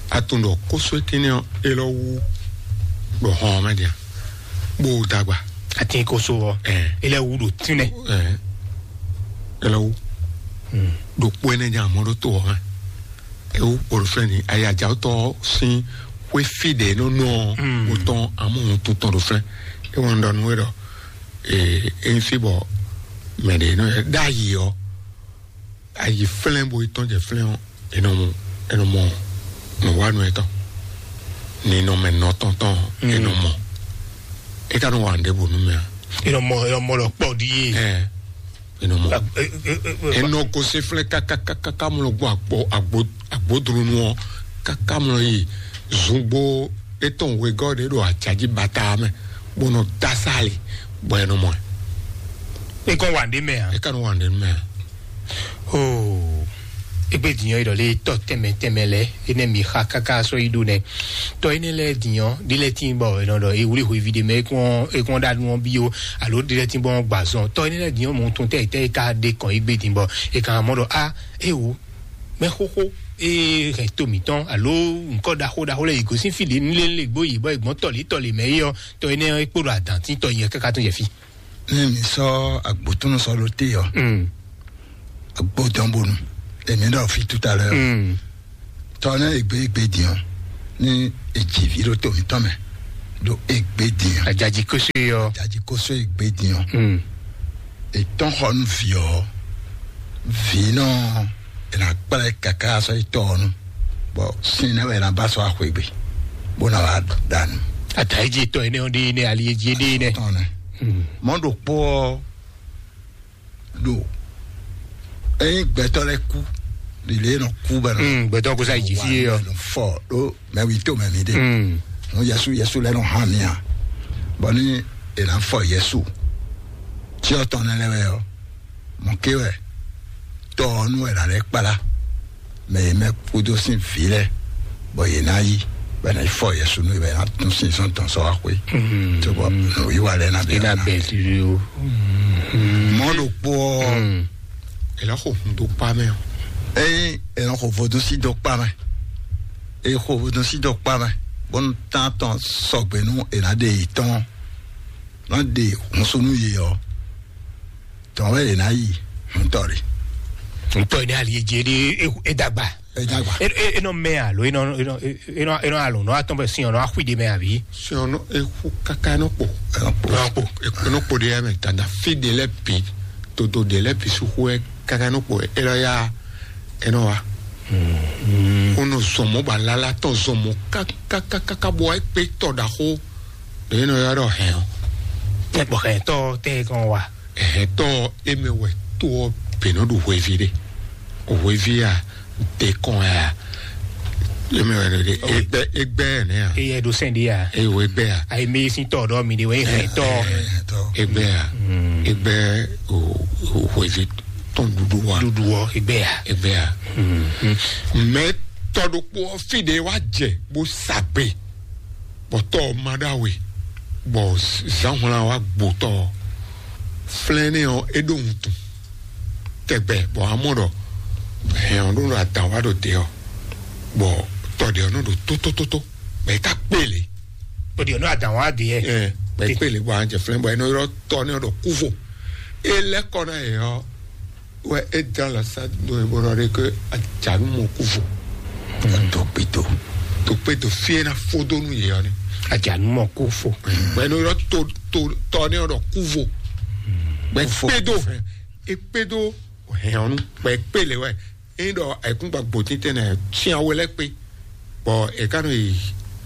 Atún ɖɔ kóso e tin ɔ, e lɔ wú ɖo hɔn mɛ dia. Bó dagba. Atin kóso ɔ, Ɛɛ. E lɛ wú ɖo tínɛ. Ɛɛ. E lɔ wú. Ɖo kpó ɛnɛ nya mɔ ɖo to ɔ mɛ. Ewu kpɔɖo fɛn ni ayadzawutɔ sin xwe fi ɖe nɔ nɔ Mm. Wotɔn amu ŋutu tɔn ɖo fɛn. Ewɔ ŋdɔ nu ɖɔ ee eyin fi bɔ mɛ ɖe nɔ ɖe ayi ɔ, ayi flɛn bo etɔn jɛ flɛn ɔ, enɔ mɔ enɔ mɔ nɔ wa nɔ etɔn ni nɔ mɛ nɔ tɔn tɔn Mm. Enɔ mɔ e ka nɔ wa ŋɖe bo nu mɛ a Enɔ mɔ, enɔ mɔ lɔ kpɔ ɖi ye. Ɛ enɔ mɔ. Enɔ ko se flɛ kakakaka mlɔ gbɔ agbo agbo agbodronu ɔ kaka mlɔ yi zungbo etɔn wegɔ ɖe ɖo ajaji bata mɛ bó nɔ dasali bɔ enɔ mɔ. Ekɔ wa ɖe mɛ a? Eka nɔ wa ɖe mɛ a? Oh. Egbe dinyɔ yi ɖɔ le tɔ tɛmɛ tɛmɛ lɛ, ene mi xa kaka sɔ yi ɖo nɛ. Tɔ ene lɛ dinyɔ ɖi lɛ tin bɔ enɔ ɖɔ ewuli hwevi ɖe mɛ ekɔn ekɔn ɖa nu bi o, alo ɖi lɛ tin bɔ gbazɔn. Tɔ ene lɛ dinyɔ mɔ tun tɛ tɛ ka ɖe kɔn yi gbe din bɔ e kan mɔ ɖɔ a ewo mɛ xoxo e hɛn to mǐtɔn alo nukɔ ɖaxo ɖaxo lɛ yi gosín fi ɖe nu lé lé gbó yi bɔ egbɔn tɔlí tɔlí mɛ yi ɔ, tɔ ene e kpo ɖo adan tin tɔ yi kaka tɔn jɛ fi. Ne mi sɔ agbotunu sɔ lo te ɔ, Mm. Agbo dɔn bonu. Èmi ɖɔ fi tout à l'heure. Mm. Tɔ ne egbe egbe din ɔ, ni edzi vi ɖo to mitɔn mɛ ɖo egbe din ɔ. Ajaji koso yɔ. Ajaji koso egbe din ɔ. Mm. Etɔn xɔ nu vi ɔ, vi nɔ ena kplɛ kaka sɔ etɔ ɔ nu. Bɔ sin ne wɛ na ba sɔ axwegbe, bó na wá dànù. Ata eji etɔ ene ɔ ɖe ne ali eji ɖe ne. Tɔn ne. Mm. Mɔ ɖo kpɔ ɔ ɖo eyin gbɛtɔ lɛ kú, lile nɔ kú bɛ nɔ. Mm, gbɛtɔ kó sa yi dzi fie yɔ. Nɔ fɔ ɖo mɛ wi to mɛ mi de. Mm. Nɔ Yesu Yesu lɛ nɔ hã mi a. Bɔ ni e na fɔ Yesu. Tí ɔ tɔn ne lɛ wɛ ɔ, mɔ ké wɛ tɔ ɔ nu wɛ la lɛ kpala. Mɛ e mɛ kúdó sín vǐ lɛ́ɛ, bɔ yě ná yi, bɔ è nǎ yi fɔ Yesu nú yě, bɔ è nǎ tún sin sɔ́ tɔn sɔ́ wá xwé. Cóbɔ nǔwiwa lɛ́ɛ ná bɛ́ Ena ná. Bɛ́ o. Mɔ̌ ɖokpó ɔ́, Mm. È nɔ xo hun dó kpá mɛ ɔ́. Ényí è nɔ xo vodúnsi dó kpá mɛ, è xo vodúnsi dó kpá mɛ, bónú tán tɔn sɔgbe nú è nǎ ɖe yě tɔn, ná ɖe hunsu nú yě ɔ́, tɔn wɛ è nǎ yi hun tɔ ɖe. Ntɔ ne ali edze ɖe e dagba. Edagba. E e enɔ mɛ alo enɔ enɔ enɔ enɔ alo nɔ atɔn bɛ sin ɔnɔ axui de mɛ abi. Sin ɔnɔ eku kaka enɔ kpo. Enɔ kpo. Enɔ kpo. Enɔ kpo de ya mɛ tanda fi de lɛ bi, todo de lɛ bi suku ɛ kaka enɔ kpo enɔ ya enɔ wa. Onɔ zɔmɔ ba lala tɔn zɔmɔ kaka kaka bɔ ekpe tɔ ɖaxo. Ɖe enɔ ya ɖɔ hɛn o. Tɛ bɔ hɛn tɔ tɛ kɔn wa. Ɛhɛtɔ eme wɛ to ɔ bɛnɔ ɖo hwevi ɖe. O hwevi a, te kɔn ya. Eme wɛ ɖe egbɛ egbɛ ne ya. Eye ɖo sɛn ɖe ya. Eye wo egbɛ ya. Ayi mi si tɔ ɖɔ mi de wɛ hɛn tɔ. Egbɛ ya. Egbɛ o o hwevi tɔn ɖuɖu wa. Ɖuɖu wɔ egbɛ ya. Egbɛ ya. Mɛ tɔ ɖokpo ɔ fi ɖe wa jɛ bo sa gbe. Bɔ tɔ ɔ ma ɖo awe, bɔ zǎnhwlán wa gbo tɔ ɔ. Flɛ́n nɛ ɔ́, é ɖó wuntun tɛgbɛ, bɔ amɔ ɖɔ hɛn ɔ́ ɖó ɖo adǎn wa ɖo te ɔ́, bɔ tɔ ɖě ɔ́ nɔ ɖo tótótótó, bɔ é ka kpélé. Tɔ ɖě ɔ́ nɔ adǎn wa ɖe yɛ. Ɛ, bɔ é kpélé, bɔ a jɛ flɛ́n, bɔ é nɔ ylɔ́ tɔ nɛ ɔ́ ɖɔ kúvo. É lɛ́ kɔ ná yě ɔ́, wɛ é dán lɔ sá do e bó nɔ ɖe ke ajanu mɔ kú vo. Tó kpito. Tó kpito fie na fó dó nú yě ɔ́ ni. Ajanu mɔ kú fo. Bɛ no yɔ tó tó tɔ ne ɔdɔ kú vo. Bɛ kpé do é kpé do hɛn ɔnu bɛ kpé le wɛ. Eyin ɖɔ ayikúngba gbòtín tɛnɛ tiɛ wɛ lɛ kpé. Bɔ e ka nɔ yi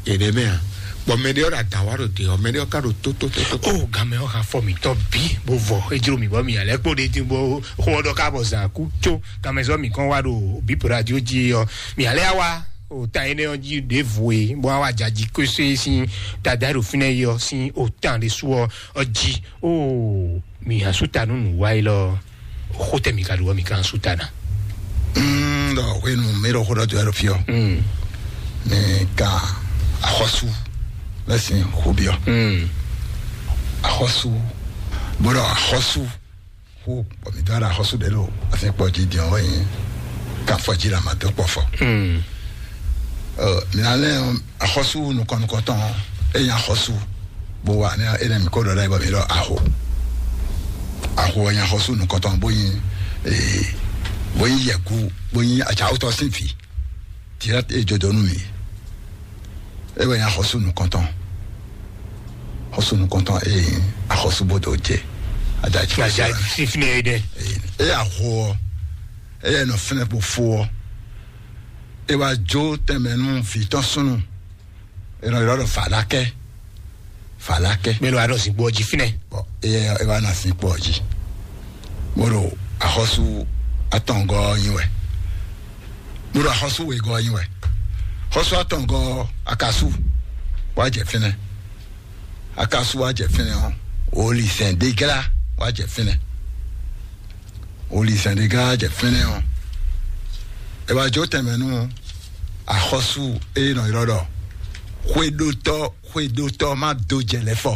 eɖe mɛ a? Bɔ mɛ ɖe ɔ́ ɖo adǎn wa ɖo te ɔ́, mɛ ɖe ɔ́ ka ɖo tótótótó. O gamɛ ɔ́ ha fɔ mǐtɔn bí bó vɔ, é jló mì bɔ mǐ alɛ kpó ɖe dín bó xó ɔ́ ɖɔ ká bɔ zǎn kú có gamɛ zɔ́ mǐ kɔn wá ɖo bǐ radio jí ɔ́, mǐ alɛ á wá. O ta énɛ́ ɔ́ jí ɖěvo e bó wá wá jǎjí kwésé sín dada e ɖo fínɛ́ yi ɔ́ sín o tan ɖé sú ɔ́ jí. O mi asúta nú nǔ wá yi lɔ xó tɛ mi ka ɖu ɔ́ mi ka asúta ná. Mm, ɖɔ hwenu mi ɖo xó ɖɔ do ɛɖo fiɔ. Mm. Mi ka axɔsu lɛ sin xó biɔ. Mm. Axɔsu bó ɖɔ axɔsu xó bɔ mi dɔ ara axɔsu ɖe ɖo asi kpɔ jí diɔn wɛ nyi ka fɔ jí la ma dɔ kpɔ fɔ. Mm. Ɔ, mi na lɛ axɔsu nukɔn nukɔntɔn e nya axɔsu bó wa ne e ne mi ko ɖɔ ɖe bɔ mi ɖɔ aho. Aho nya axɔsu nukɔntɔn bó nyi ee bó nyi yɛku bó nyi atsawutɔ sín vi. Direct e jɔ dɔ nú mi. E wɛ nya axɔsu nukɔntɔn. Axɔsu nukɔntɔn e nyi axɔsu bó do jɛ. Adaji. Aja fífínɛ yi dɛ. E aho ɔ e yɛ nɔ fínɛ kpo fo ɔ. E wa jo tɛmɛ nú vi tɔn sunu. E nɔ ylɔ ɖɔ falakɛ. Falakɛ. Mɛ lo aɖɔ zinkpo ɔ́ jí fínɛ. Bɔn e yɛ e wa na zinkpo ɔ́ jí. Mo ɖo axɔsu atɔngɔ ɔ́ nyi wɛ. Mo ɖo axɔsu wegɔ ɔ́ nyi wɛ. Xɔsu atɔngɔ ɔ́ akasu wa jɛ fínɛ. Akasu wa jɛ fínɛ ɔ́, olizɛn degla wa jɛ fínɛ. Olizɛn degla wa jɛ fínɛ ɔ́, e wa jo tɛmɛ nú axɔsu e nɔ ylɔ ɖɔ xwedotɔ xwedotɔ ma do jɛ lɛ fɔ.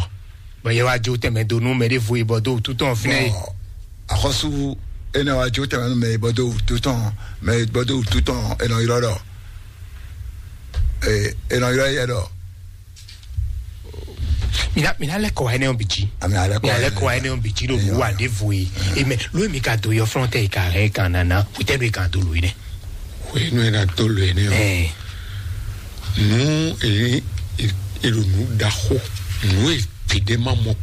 Bɔn yɛ wa jo tɛmɛ do nú mɛ ɖé vo yi bɔ do wútu tɔn fínɛ yi. Bɔn axɔsu e nɔ wa jo tɛmɛ nú mɛ yi bɔ do wútu tɔn mɛ yi bɔ do wútu tɔn e nɔ ylɔ ɖɔ e e nɔ ylɔ yɛ ɖɔ. Mina mina lɛ kɔ wa ɛnɛ ɔn bi ji. Ami alɛ kɔ mina lɛ kɔ wa ɛnɛ ɔn bi ji ɖo bu wa ɖe vo yi. Eme lo mi ka do yɔ fɔlɔ tɛ yi ka hɛ kan nana o tɛ do yi kan do lo yi nɛ. Wenu ena to lo ene o. Ɛɛ. Nu e e ɖo nu ɖaxo nu e gbeɖe ma mɔ.